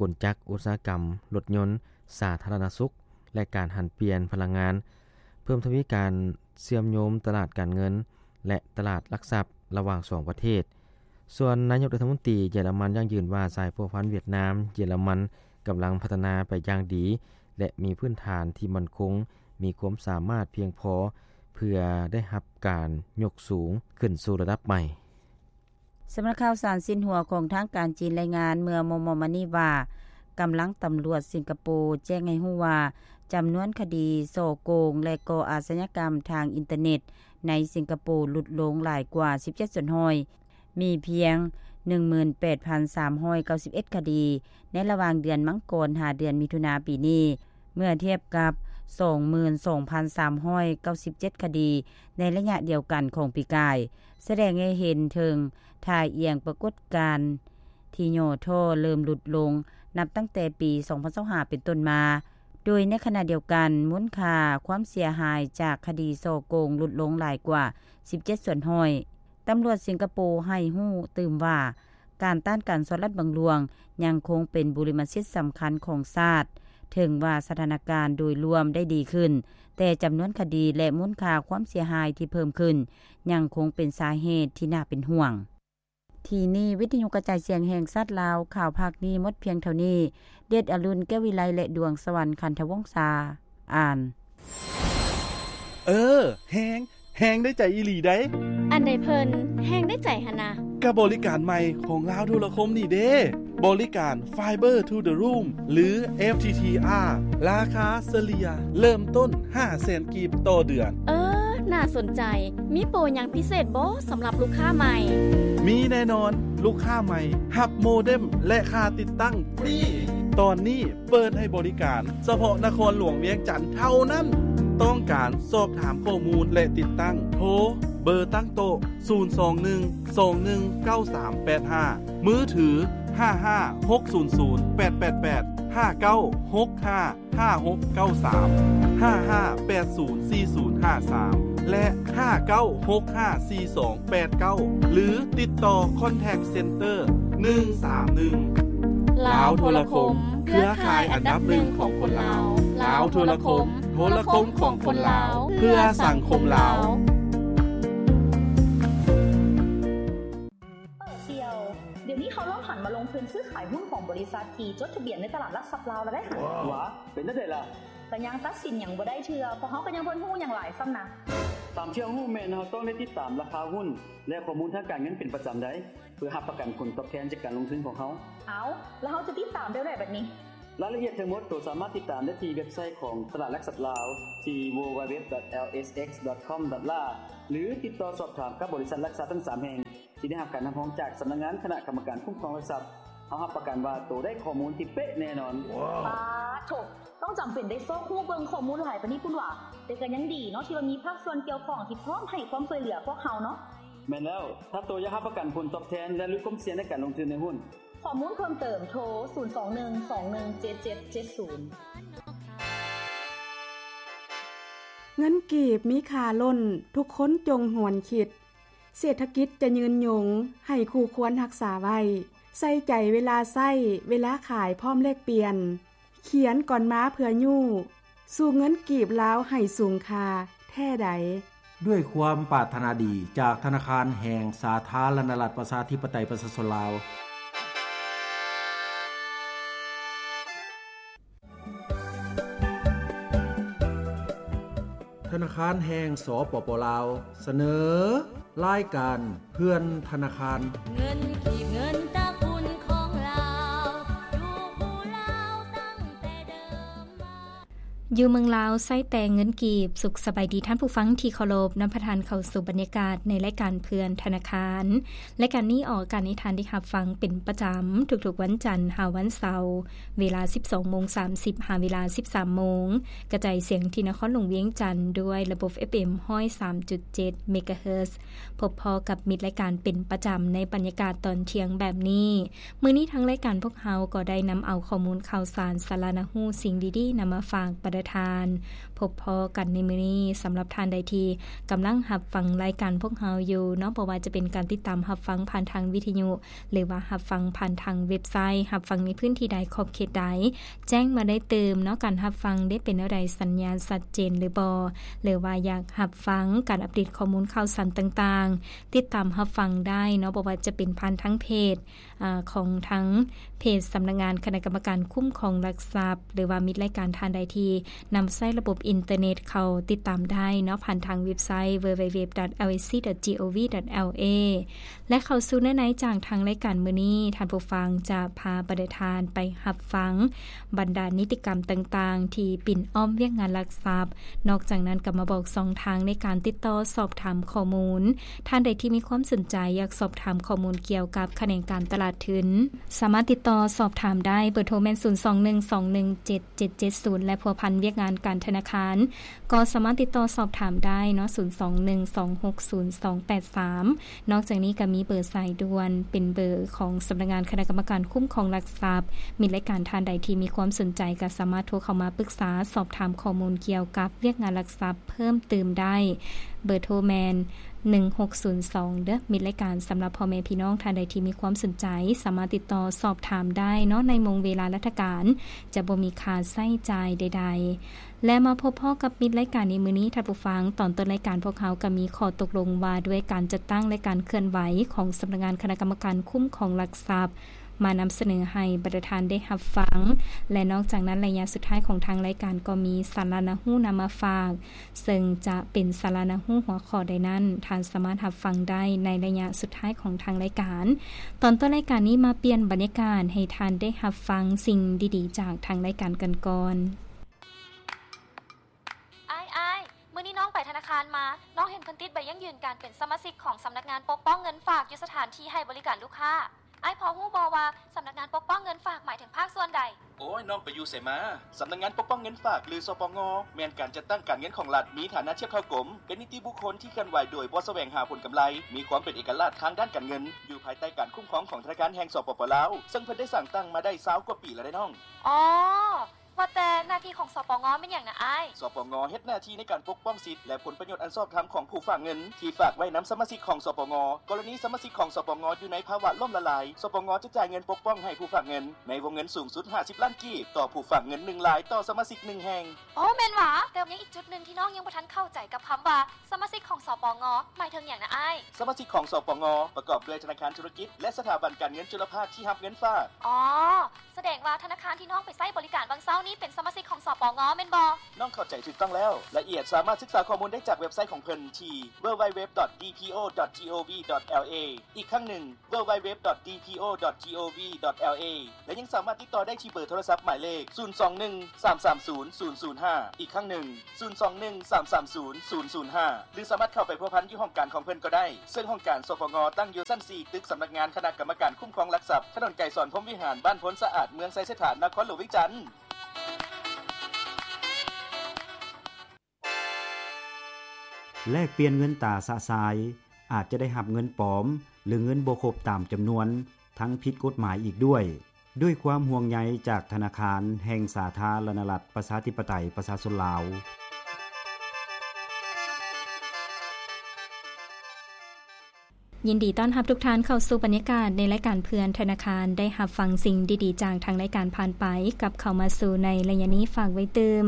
ກົນຈັກອຸດສາຫະກຳ, ລົດຍົນ, ສາທາລະນະສຸກ ແລະ ການຫັນປ່ຽນພະລັງງານ, ເພີ່ມທະວີການເຊື່ອມໂຍງຕະຫຼາດການເງິນ ແລະ ຕະຫຼາດຫຼັກຊັບລະຫວ່າງສອງປະເທດ. ສ່ວນນາຍົກລັດຖະມົນຕີເຢຍລະມັນຢັ້ງຢືນວ່າ ສາຍພົວພັນຫວຽດນາມ-ເຢຍລະມັນກຳລັງພັດທະນາໄປຢ່າງດີ ແລະ ມີພື້ນຖານທີ່ໝັ້ນຄົງ, ມີຄວາມສາມາດພຽງພໍເພື່ອໄດ້ຮັບການຍົກສູງຂຶ້ນສູ່ລະດັບໃໝ່. ສຳນັກຂ່າວສານຊິນຫົວຂອງທາງການຈີນລາຍງານເມື່ອມໍ່ໆມານີ້ວ່າ ກຳລັງຕຳຫຼວດສິງກະໂປແຈ້ງໃຫ້ຮູ້ວ່າ ຈຳນວນຄະດີສໍ້ໂກງ ແລະ ກໍ່ອາຊະຍາກຳທາງອິນເຕີເນັດໃນສິງກະໂປຫຼຸດລົງຫຼາຍກວ່າສິບເຈັດສ່ວນຮ້ອຍ, ມີພຽງໜຶ່ງໝື່ນແປດພັນສາມຮ້ອຍເກົ້າສິບເອັດຄະດີ ໃນລະຫວ່າງເດືອນມັງກອນຫາເດືອນມິຖຸນາປີນີ້. ເມື່ອທຽບກັບສອງໝື່ນສອງພັນສາມຮ້ອຍເກົ້າສິບເຈັດຄະດີໃນໄລຍະດຽວກັນຂອງປີກາຍ, ສະແດງໃຫ້ເຫັນເຖິງທ່າອ່ຽງປາກົດການທີ່ຫຍໍ້ທໍ້ເລີ່ມຫຼຸດລົງ ນັບຕັ້ງແຕ່ປີສອງພັນຊາວຫ້າເປັນຕົ້ນມາ. ໂດຍໃນຂະນະດຽວກັນ ມູນຄ່າຄວາມເສຍຫາຍຈາກຄະດີສໍ້ໂກງຫຼຸດລົງຫຼາຍກວ່າ ສິບເຈັດສ່ວນຮ້ອຍ. ຕຳຫຼວດສິງກະໂປໃຫ້ຮູ້ຕື່ມວ່າ ການຕ້ານການສໍ້ລາດບັງຫຼວງ ຍັງຄົງເປັນບຸລິມະສິດສຳຄັນຂອງຊາດ. ເຖິງວ່າສະຖານະການໂດຍລວມໄດ້ດີຂຶ້ນ, ແຕ່ຈຳນວນຄະດີ ແລະ ມູນຄ່າຄວາມເສຍຫາຍທີ່ເພີ່ມຂຶ້ນ ຍັງຄົງເປັນສາເຫດທີ່ໜ້າເປັນຫ່ວງ. ທີ່ນີ້ ວິທະຍຸກະຈາຍສຽງແຫ່ງຊາດລາວ ຂ່າວພາກນີ້ໝົດພຽງເທົ່ານີ້. ເດດອະລຸນ ແກ້ວວິໄລ ແລະ ດວງສະຫວັນ ຄັນທະວົງສາ ອ່ານ. ເອີ ແຮງ ແຮງໄດ້ໃຈອີ່ຫຼີໃດ໋. ອັນໃດເພິ່ນແຮງໄດ້ໃຈຫັ້ນນະ? ກະບໍລິການໃໝ່ຂອງລາວໂທລະຄົມນີ້ເດ້ ບໍລິການ Fiber to the Room ຫຼື FTTR ລາຄາສະເລ່ຍເລີ່ມຕົ້ນ ຫ້າແສນກີບຕໍ່ເດືອນ. ເອີ ໜ້າສົນໃຈ. ມີໂປຫຍັງພິເສດບໍ່ສຳລັບລູກຄ້າໃໝ່? ມີແນ່ນອນ, ລູກຄ້າໃໝ່ຮັບໂມເດັມ ແລະ ຄ່າຕິດຕັ້ງຟຣີ. ຕອນນີ້ເປີດໃຫ້ບໍລິການສະເພາະນະຄອນຫຼວງວຽງຈັນເທົ່ານັ້ນ. ຕ້ອງການສອບຖາມຂໍ້ມູນ ແລະ ຕິດຕັ້ງ ໂທເບີຕັ້ງໂຕະ ສູນສອງໜຶ່ງ ສອງໜຶ່ງ ເກົ້າສາມແປດຫ້າ, ມືຖື ຫ້າຫ້າຫົກສູນສູນແປດແປດແປດ, ຫ້າເກົ້າຫົກຫ້າ ຫ້າຫົກເກົ້າສາມ, ຫ້າຫ້າແປດສູນສີ່ສູນຫ້າສາມ ແລະ ຫ້າເກົ້າຫົກຫ້າສີ່ສອງແປດເກົ້າ ຫຼື ຕິດຕໍ່ Contact Center ໜຶ່ງສາມໜຶ່ງ. ລາວໂທລະຄົມ ເຄືອຂ່າຍອັນດັບໜຶ່ງຂອງຄົນລາວ. ລາວໂທລະຄົມ ໂທລະຄົມຂອງຄົນລາວ ເພື່ອສັງຄົມລາວ. ເອີ ສ່ຽວ, ດຽວນີ້ເຂົາເລີ່ມຫັນມາລົງທຶນຊື້ຂາຍຫຸ້ນຂອງບໍລິສັດທີ່ຈົດທະບຽນໃນຕະຫຼາດຫຼັກຊັບລາວແລ້ວເດ້. ຫວາ ເປັນແນວໃດລະ? ກະຍັງຕັດສິນຫຍັງບໍ່ໄດ້ເທື່ອ, ເພາະເຮົາກະຍັງບໍ່ຮູ້ຫຍັງຫຼາຍຊ້ຳນະ. ຕາມທີ່ເຮົາຮູ້ແມ່ນເຮົາຕ້ອງໄດ້ຕິດຕາມລາຄາຫຸ້ນ ແລະ ຂໍ້ມູນທາງການເງິນເປັນປະຈຳໄດ໋ ເພື່ອຮັບປະກັນຜົນຕອບແທນຈາກການລົງທຶນຂອງເຮົາ. ເອົາ, ແລ້ວເຮົາຈະຕິດຕາມແບບໃດບັດນີ້? ລາຍລະອຽດທັງໝົດໂຕສາມາດຕິດຕາມໄດ້ທີ່ເວັບໄຊຂອງຕະຫຼາດຫຼັກຊັບລາວ ທີ່ www.lsx.com.la ຫຼື ຕິດຕໍ່ສອບຖາມກັບບໍລິສັດຫຼັກຊັບທັງສາມແຫ່ງ ທີ່ໄດ້ຮັບການຮັບຮອງຈາກສຳນັກງານຄະນະກຳມະການຄຸ້ມຄອງຫຼັກຊັບ. ເຮົາຮັບປະກັນວ່າໂຕໄດ້ຂໍ້ມູນທີ່ເປະແນ່ນອນ. ປາໂທ້ ຕ້ອງຈຳເປັນໄດ້ຊອກຮູ້ເບິ່ງຂໍ້ມູນຫຼາຍປານນີ້ພຸ້ນຫວາ? ແຕ່ກະຍັງດີເນາະ ທີ່ວ່າມີພາກສ່ວນກ່ຽວຂ້ອງທີ່ພ້ອມໃຫ້ຄວາມຊ່ວຍເຫຼືອພວກເຮົາເນາະ. ແມ່ນແລ້ວ, ຖ້າໂຕຢາກຮັບປະກັນຜົນຕອບແທນ ແລະ ຫຼຸດຄວາມສ່ຽງໃນການລົງທຶນໃນຫຸ້ນ. ຂໍ້ມູນເພີ່ມເຕີມ ໂທ ສູນສອງໜຶ່ງສອງໜຶ່ງເຈັດເຈັດເຈັດສູນ. ເງິນກີບມີຄ່າລົ້ນ, ທຸກຄົນຈົ່ງຫວນຄິດ. ເສດຖະກິດຈະຍືນຍົງ, ໃຫ້ຄູ່ຄວນຮັກສາໄວ້. ໃສ່ໃຈເວລາໃຊ້, ເວລາຂາຍພ້ອມແລກປ່ຽນ. ຂຽນກ່ອນມາເພື່ອຍູ້, ສູ້ເງິນກີບລາວໃຫ້ສູງຄ່າແທ້ໃດ. ດ້ວຍຄວາມປາດຖະໜາດີຈາກທະນາຄານແຫ່ງສາທາລະນະລັດ ປະຊາທິປະໄຕ ປະຊາຊົນລາວ. ທະນາຄານແຫ່ງ ສປປ ລາວ ສະເໜີ ລາຍການເພື່ອນທະນາຄານ. ເງິນກີບ ເງິນຕະກຸນຂອງລາວ ຢູ່ຄູ່ລາວຕັ້ງແຕ່ເດີມມາ. ຢູ່ເມືອງລາວໃຊ້ແຕ່ເງິນກີບ. ສຸກສະບາຍດີທ່ານຜູ້ຟັງທີ່ເຄົາລົບ, ນຳພາທ່ານເຂົ້າສູ່ບັນຍາກາດໃນລາຍການເພື່ອນທະນາຄານ. ລາຍການນີ້ອອກອາກາດໃຫ້ທ່ານໄດ້ຮັບຟັງເປັນປະຈຳທຸກໆວັນຈັນຫາວັນເສົາ ເວລາສິບສອງໂມງສາມສິບ ຫາເວລາສິບສາມໂມງ, ກະຈາຍສຽງທີ່ນະຄອນຫຼວງວຽງຈັນດ້ວຍລະບົບ ເອັຟເອັມ ຮ້ອຍສາມຈຸດເຈັດ ເມກາເຮີດ. ພົບພໍ້ກັບມິດລາຍການເປັນປະຈຳໃນບັນຍາກາດຕອນທ່ຽງແບບນີ້. ມື້ນີ້ທາງລາຍການພວກເຮົາກໍໄດ້ນຳເອົາຂໍ້ມູນຂ່າວສານ ສາລະໜ້າຮູ້ ສິ່ງດີໆນຳມາຝາກບັນດາທ່ານ. ພົບພໍ້ກັນໃນມື້ນີ້, ສຳລັບທ່ານໃດທີ່ກຳລັງຮັບຟັງລາຍການພວກເຮົາຢູ່ເນາະ, ບໍ່ວ່າຈະເປັນການຕິດຕາມຮັບຟັງຜ່ານທາງວິທະຍຸ ຫຼືວ່າຮັບຟັງຜ່ານທາງເວັບໄຊ, ຮັບຟັງໃນພື້ນທີ່ໃດ, ຂອບເຂດໃດ, ແຈ້ງມາໄດ້ຕື່ມເນາະ. ການຮັບຟັງໄດ້ເປັນແນວໃດ, ສັນຍານຊັດເຈນຫຼືບໍ່, ຫຼືວ່າຢາກຮັບຟັງການອັບເດດຂໍ້ມູນຂ່າວສານຕ່າງໆ, ຕິດຕາມຮັບຟັງໄດ້ເນາະ, ບໍ່ວ່າຈະເປັນຜ່ານທາງເພຈ ອາ ຂອງທາງເພຈສຳນັກງານຄະນະກຳມະການຄຸ້ມຄອງຫຼັກຊັບ ຫຼືວ່າມິດລາຍການທ່ານໃດທີ່ນຳໃຊ້ລະບົບອິນເຕີເນັດ ເຂົ້າຕິດຕາມໄດ້ເນາະ ຜ່ານທາງເວັບໄຊ www.lsc.gov.la ແລະ ເຂົ້າສູ່ເນື້ອໃນຈາກທາງລາຍການມື້ນີ້, ທ່ານຜູ້ຟັງຈະພາບັນດາທ່ານໄປຮັບຟັງບັນດານິຕິກຳຕ່າງໆທີ່ປິ່ນອ້ອມວຽກງານຫຼັກຊັບ. ນອກຈາກນັ້ນກໍມາບອກຊ່ອງທາງໃນການຕິດຕໍ່ສອບຖາມຂໍ້ມູນ. ທ່ານໃດທີ່ມີຄວາມສົນໃຈຢາກສອບຖາມຂໍ້ມູນກ່ຽວກັບຂະແໜງການຕະຫຼາດທຶນ, ສາມາດຕິດຕໍ່ສອບຖາມໄດ້. ເບີໂທແມ່ນ ສູນສອງໜຶ່ງສອງໜຶ່ງເຈັດເຈັດເຈັດສູນ ແລະ ພົວພັນ ວຽກງານການທະນາຄານ ກໍສາມາດຕິດຕໍ່ສອບຖາມໄດ້ເນາະ ສູນສອງໜຶ່ງສອງຫົກສູນສອງແປດສາມ. ນອກຈາກນີ້ກໍມີເບີສາຍດ່ວນ ເປັນເບີຂອງສຳນັກງານຄະນະກຳມະການຄຸ້ມຄອງຫຼັກຊັບ. ມິດລາຍການທ່ານໃດທີ່ມີຄວາມສົນໃຈ ກໍສາມາດໂທເຂົ້າມາປຶກສາສອບຖາມຂໍ້ມູນກ່ຽວກັບວຽກງານຫຼັກຊັບເພີ່ມຕື່ມໄດ້. ເບີໂທແມ່ນ ໜຶ່ງຫົກສູນສອງເດີ້ ມິດລາຍການ. ສຳລັບພໍ່ແມ່ພີ່ນ້ອງທ່ານໃດທີ່ມີຄວາມສົນໃຈ ສາມາດຕິດຕໍ່ສອບຖາມໄດ້ເນາະ ໃນໂມງເວລາລັດຖະການ ຈະບໍ່ມີຄ່າໃຊ້ຈ່າຍໃດໆ. ແລະ ມາພົບພໍ້ກັບມິດລາຍການໃນມື້ນີ້ ທ່ານຜູ້ຟັງ, ຕອນຕົ້ນລາຍການພວກເຮົາກໍມີຂໍ້ຕົກລົງວ່າດ້ວຍການຈັດຕັ້ງ ແລະ ການເຄື່ອນໄຫວຂອງສຳນັກງານຄະນະກຳມະການຄຸ້ມຄອງຫຼັກຊັບ ມານຳສະເໜີໃຫ້ບັນດາທ່ານໄດ້ຮັບຟັງ. ແລະ ນອກຈາກນັ້ນ, ໄລຍະສຸດທ້າຍຂອງທາງລາຍການກໍມີສາລະໜ້າຮູ້ນຳມາຝາກ, ເຊິ່ງຈະເປັນສາລະໜ້າຮູ້ຫົວຂໍ້ໃດນັ້ນ, ທ່ານສາມາດຮັບຟັງໄດ້ໃນໄລຍະສຸດທ້າຍຂອງທາງລາຍການ. ຕອນຕົ້ນລາຍການນີ້ມາປ່ຽນບັນຍາກາດໃຫ້ທ່ານໄດ້ຮັບຟັງສິ່ງດີໆຈາກທາງລາຍການກັນກ່ອນ. ອ້າຍ, ອ້າຍ, ມື້ນີ້ນ້ອງໄປທະນາຄານມາ, ນ້ອງເຫັນເພິ່ນຕິດໃບຢັ້ງຢືນການເປັນສະມາຊິກຂອງສຳນັກງານປົກປ້ອງເງິນຝາກຢູ່ສະຖານທີ່ໃຫ້ບໍລິການລູກຄ້າ. ອ້າຍພໍຮູ້ບໍ່ວ່າສຳນັກງານປົກປ້ອງເງິນຝາກໝາຍເຖິງພາກສ່ວນໃດ? ໂອ້ຍ, ນ້ອງໄປຢູ່ໃສມາ? ສຳນັກງານປົກປ້ອງເງິນຝາກ ຫຼື ສປງ ແມ່ນການຈັດຕັ້ງການເງິນຂອງລັດ, ມີຖານະທຽບເທົ່າກົມ, ເປັນນິຕິບຸກຄົນທີ່ເຄື່ອນໄຫວໂດຍບໍ່ສະແຫວງຫາຜົນກຳໄລ, ມີຄວາມເປັນເອກະລາດທາງດ້ານການເງິນ, ຢູ່ພາຍໃຕ້ການຄຸ້ມຄອງຂອງທະນາຄານແຫ່ງ ສປປ ລາວ, ເຊິ່ງເພິ່ນໄດ້ສ້າງຕັ້ງມາໄດ້ຊາວກວ່າປີແລ້ວເດ້ນ້ອງ. ອໍ ວ່າແຕ່ໜ້າທີ່ຂອງ ສປງ ແມ່ນຫຍັງນະອ້າຍ? ສປງ ເຮັດໜ້າທີ່ໃນການປົກປ້ອງສິດ ແລະ ຜົນປະໂຫຍດອັນຊອບທຳຂອງຜູ້ຝາກເງິນທີ່ຝາກໄວ້ນຳສະມາຊິກຂອງ ສປງ. ກໍລະນີສະມາຊິກຂອງ ສປງ ຢູ່ໃນພາວະລົ້ມລະລາຍ, ສປງ ຈະຈ່າຍເງິນປົກປ້ອງໃຫ້ຜູ້ຝາກເງິນໃນວົງເງິນສູງສຸດຫ້າສິບລ້ານກີບ ຕໍ່ຜູ້ຝາກເງິນໜຶ່ງລາຍຕໍ່ສະມາຊິກໜຶ່ງແຫ່ງ. ໂອ້ ແມ່ນຫວາ? ແຕ່ຍັງອີກຈຸດໜຶ່ງທີ່ນ້ອງຍັງບໍ່ທັນເຂົ້າໃຈກັບຄຳວ່າສະມາຊິກຂອງ ສປງ ໝາຍເຖິງຫຍັງນະອ້າຍ? ສະມາຊິກຂອງ ສປງ ປະກອບດ້ວຍທະນາຄານທຸລະກິດ ແລະ ສະຖາບັນການເງິນຈຸລະພາກທີ່ຮັບເງິນຝາກ. ອໍ ສະແດງວ່າທະນາຄານທີ່ນ້ອງໄປໃຊ້ບໍລິການຫວ່າງເຊົ້ານີ້ເປັນສະມາຊິກຂອງ ສປງ ແມ່ນບໍ່? ນ້ອງເຂົ້າໃຈຖືກຕ້ອງແລ້ວ. ລາຍລະອຽດສາມາດສຶກສາຂໍ້ມູນໄດ້ຈາກເວັບໄຊຂອງເພິ່ນທີ່ www.dpo.gov.la. ອີກຄັ້ງໜຶ່ງ www.dpo.gov.la ແລະ ຍັງສາມາດຕິດຕໍ່ໄດ້ທີ່ເບີໂທລະສັບໝາຍເລກ ສູນສອງໜຶ່ງສາມສາມສູນສູນສູນຫ້າ. ອີກຄັ້ງໜຶ່ງ ສູນສອງໜຶ່ງສາມສາມສູນສູນສູນຫ້າ ຫຼື ສາມາດເຂົ້າໄປພົວພັນຢູ່ຫ້ອງການຂອງເພິ່ນກໍໄດ້, ເຊິ່ງຫ້ອງການ ສປງ ຕັ້ງຢູ່ຊັ້ນສີ່ ຕຶກສຳນັກງານຄະນະກຳມະການຄຸ້ມຄອງຫຼັກຊັບ, ຖະໜົນໄກສອນ ພົມວິຫານ, ບ້ານໂພນສະອາດ, ເມືອງໄຊເສດຖາ, ນະຄອນຫຼວງວຽງຈັນ. ແລກປ່ຽນເງິນຕາຊະຊາຍ, ອາດຈະໄດ້ຮັບເງິນປອມ ຫຼື ເງິນບໍ່ຄົບຕາມຈຳນວນ ທັງຜິດກົດໝາຍອີກດ້ວຍ. ດ້ວຍຄວາມຫ່ວງໃຍຈາກທະນາຄານແຫ່ງສາທາລະນະລັດ ປະຊາທິປະໄຕ ປະຊາຊົນລາວ. ຍິນດີຕ້ອນຮັບທຸກທ່ານເຂົ້າສູ່ບັນຍາກາດໃນລາຍການເພື່ອນທະນາຄານ. ໄດ້ຮັບຟັງສິ່ງດີໆຈາກທາງລາຍການຜ່ານໄປ, ກັບເຂົ້າມາສູ່ໃນໄລຍະນີ້ ຝາກໄວ້ຕື່ມ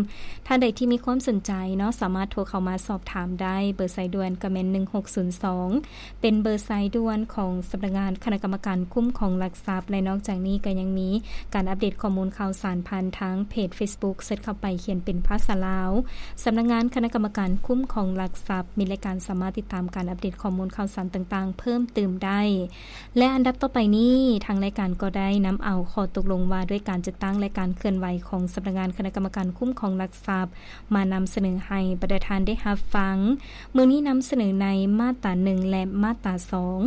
ທ່ານໃດທີ່ມີຄວາມສົນໃຈເນາະ ສາມາດໂທເຂົ້າມາສອບຖາມໄດ້. ເບີສາຍດ່ວນກໍແມ່ນ ໜຶ່ງຫົກສູນສອງ ເປັນເບີສາຍດ່ວນຂອງສຳນັກງານຄະນະກຳມະການຄຸ້ມຄອງຫຼັກຊັບ ແລະ ນອກຈາກນີ້ກໍຍັງມີການອັບເດດຂໍ້ມູນຂ່າວສານຜ່ານທາງເພຈເຟສບຸກ ເສີດເຂົ້າໄປຂຽນເປັນພາສາລາວ ສຳນັກງານຄະນະກຳມະການຄຸ້ມຄອງຫຼັກຊັບ. ມິດລາຍການສາມາດຕິດຕາມການອັບເດດຂໍ້ມູນຂ່າວສານຕ່າງໆເພີ່ມຕື່ມໄດ້. ແລະ ອັນດັບຕໍ່ໄປນີ້ ທາງລາຍການກໍໄດ້ນຳເອົາຂໍ້ຕົກລົງວ່າດ້ວຍການຈັດຕັ້ງ ແລະ ການເຄື່ອນໄຫວຂອງສຳນັກງານຄະນະກຳມະການຄຸ້ມຄອງຫຼັກຊັບ ມານຳສະເໜີໃຫ້ບັນດາທ່ານໄດ້ຮັບຟັງ. ມື້ນີ້ນຳສະເໜີໃນມາດຕາໜຶ່ງ ແລະ ມາດຕາສອງ.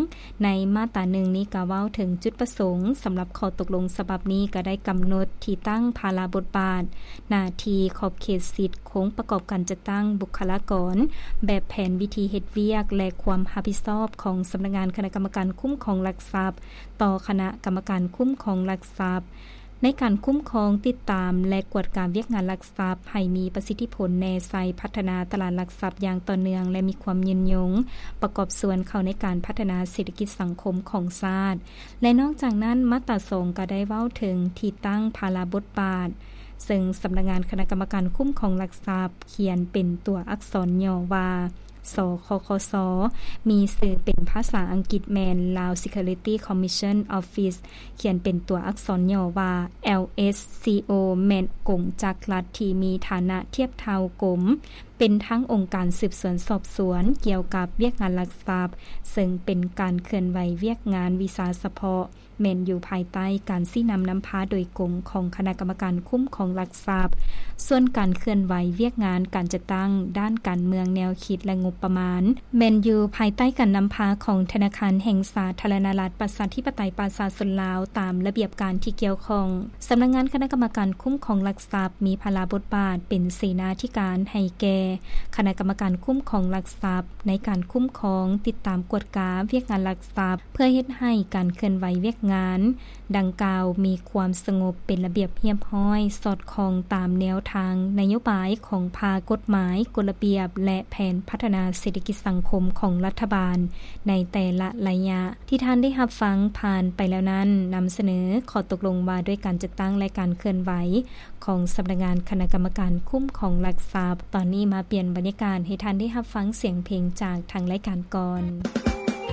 ໃນມາດຕາໜຶ່ງນີ້ກໍເວົ້າເຖິງຈຸດປະສົງສຳລັບຂໍ້ຕົກລົງສະບັບນີ້ ກໍໄດ້ກຳນົດທີ່ຕັ້ງ, ພາລະບົດບາດ, ໜ້າທີ່, ຂອບເຂດສິດ, ໂຄງປະກອບການຈັດຕັ້ງ, ບຸກຄະລາກອນ, ແບບແຜນວິທີເຮັດວຽກ ແລະ ຄວາມຮັບຜິດຊອບຂອງສຳນັກງານຄະນະກຳມະການຄຸ້ມຄອງຫຼັກຊັບ ຕໍ່ຄະນະກຳມະການຄຸ້ມຄອງຫຼັກຊັບ ໃນການຄຸ້ມຄອງ, ຕິດຕາມ ແລະ ກວດກາວຽກງານຫຼັກຊັບໃຫ້ມີປະສິດທິຜົນແນໃສ່ພັດທະນາຕະຫຼາດຫຼັກຊັບຢ່າງຕໍ່ເນື່ອງ ແລະ ມີຄວາມຍືນຍົງ, ປະກອບສ່ວນເຂົ້າໃນການພັດທະນາເສດຖະກິດສັງຄົມຂອງຊາດ. ແລະ ນອກຈາກນັ້ນ, ມາດຕາສອງກໍໄດ້ເວົ້າເຖິງທີ່ຕັ້ງ, ພາລະບົດບາດ, ເຊິ່ງສຳນັກງານຄະນະກຳມະການຄຸ້ມຄອງຫຼັກຊັບຂຽນເປັນຕົວອັກສອນຫຍໍ້ວ່າ ສຄຄສ ມີຊື່ເປັນພາສາອັງກິດແມ່ນ Lao Security Commission Office ຂຽນເປັນຕົວອັກສອນຫຍໍ້ວ່າ ແອລເອສຊີໂອ ແມ່ນກົງຈັກລັດທີ່ມີຖານະທຽບເທົ່າກົມ ເປັນທັງອົງການສືບສວນສອບສວນກ່ຽວກັບວຽກງານລັກຊັບ, ເຊິ່ງເປັນການເຄື່ອນໄຫວວຽກງານວິຊາສະເພາະ, ແມ່ນຢູ່ພາຍໃຕ້ການຊີ້ນຳນຳພາໂດຍກົງຂອງຄະນະກຳມະການຄຸ້ມຄອງຫຼັກຊັບ. ສ່ວນການເຄື່ອນໄຫວວຽກງານການຈັດຕັ້ງດ້ານການເມືອງ, ແນວຄິດ ແລະ ງົບປະມານ ແມ່ນຢູ່ພາຍໃຕ້ການນຳພາຂອງທະນາຄານແຫ່ງສາທາລະນະລັດ ປະຊາທິປະໄຕ ປະຊາຊົນລາວ ຕາມລະບຽບການທີ່ກ່ຽວຂ້ອງ. ສຳນັກງານຄະນະກຳມະການຄຸ້ມຄອງຫຼັກຊັບ ມີພາລະບົດບາດເປັນເສນາທິການໃຫ້ແກ່ຄະນະກຳມະການຄຸ້ມຄອງຫຼັກຊັບ ໃນການຄຸ້ມຄອງ, ຕິດຕາມ, ກວດກາວຽກງານຫຼັກຊັບ ເພື່ອເຮັດໃຫ້ການເຄື່ອນໄຫວວຽກງານດັ່ງກ່າວມີຄວາມສະຫງົບ, ເປັນລະບຽບຮຽບຮ້ອຍ, ສອດຄ່ອງຕາມແນວທາງນະໂຍບາຍຂອງພາກກົດໝາຍ, ກົດລະບຽບ ແລະ ແຜນພັດທະນາເສດຖະກິດສັງຄົມຂອງລັດຖະບານໃນແຕ່ລະໄລຍະ. ທີ່ທ່ານໄດ້ຮັບຟັງຜ່ານໄປແລ້ວນັ້ນ ນຳສະເໜີຂໍ້ຕົກລົງວ່າດ້ວຍການຈັດຕັ້ງ ແລະ ການເຄື່ອນໄຫວຂອງສຳນັກງານຄະນະກຳມະການຄຸ້ມຄອງຫຼັກຊັບ. ຕອນນີ້ມາປ່ຽນບັນຍາກາດໃຫ້ທ່ານໄດ້ຮັບຟັງສຽງເພງຈາກທາງລາຍການກ່ອນ.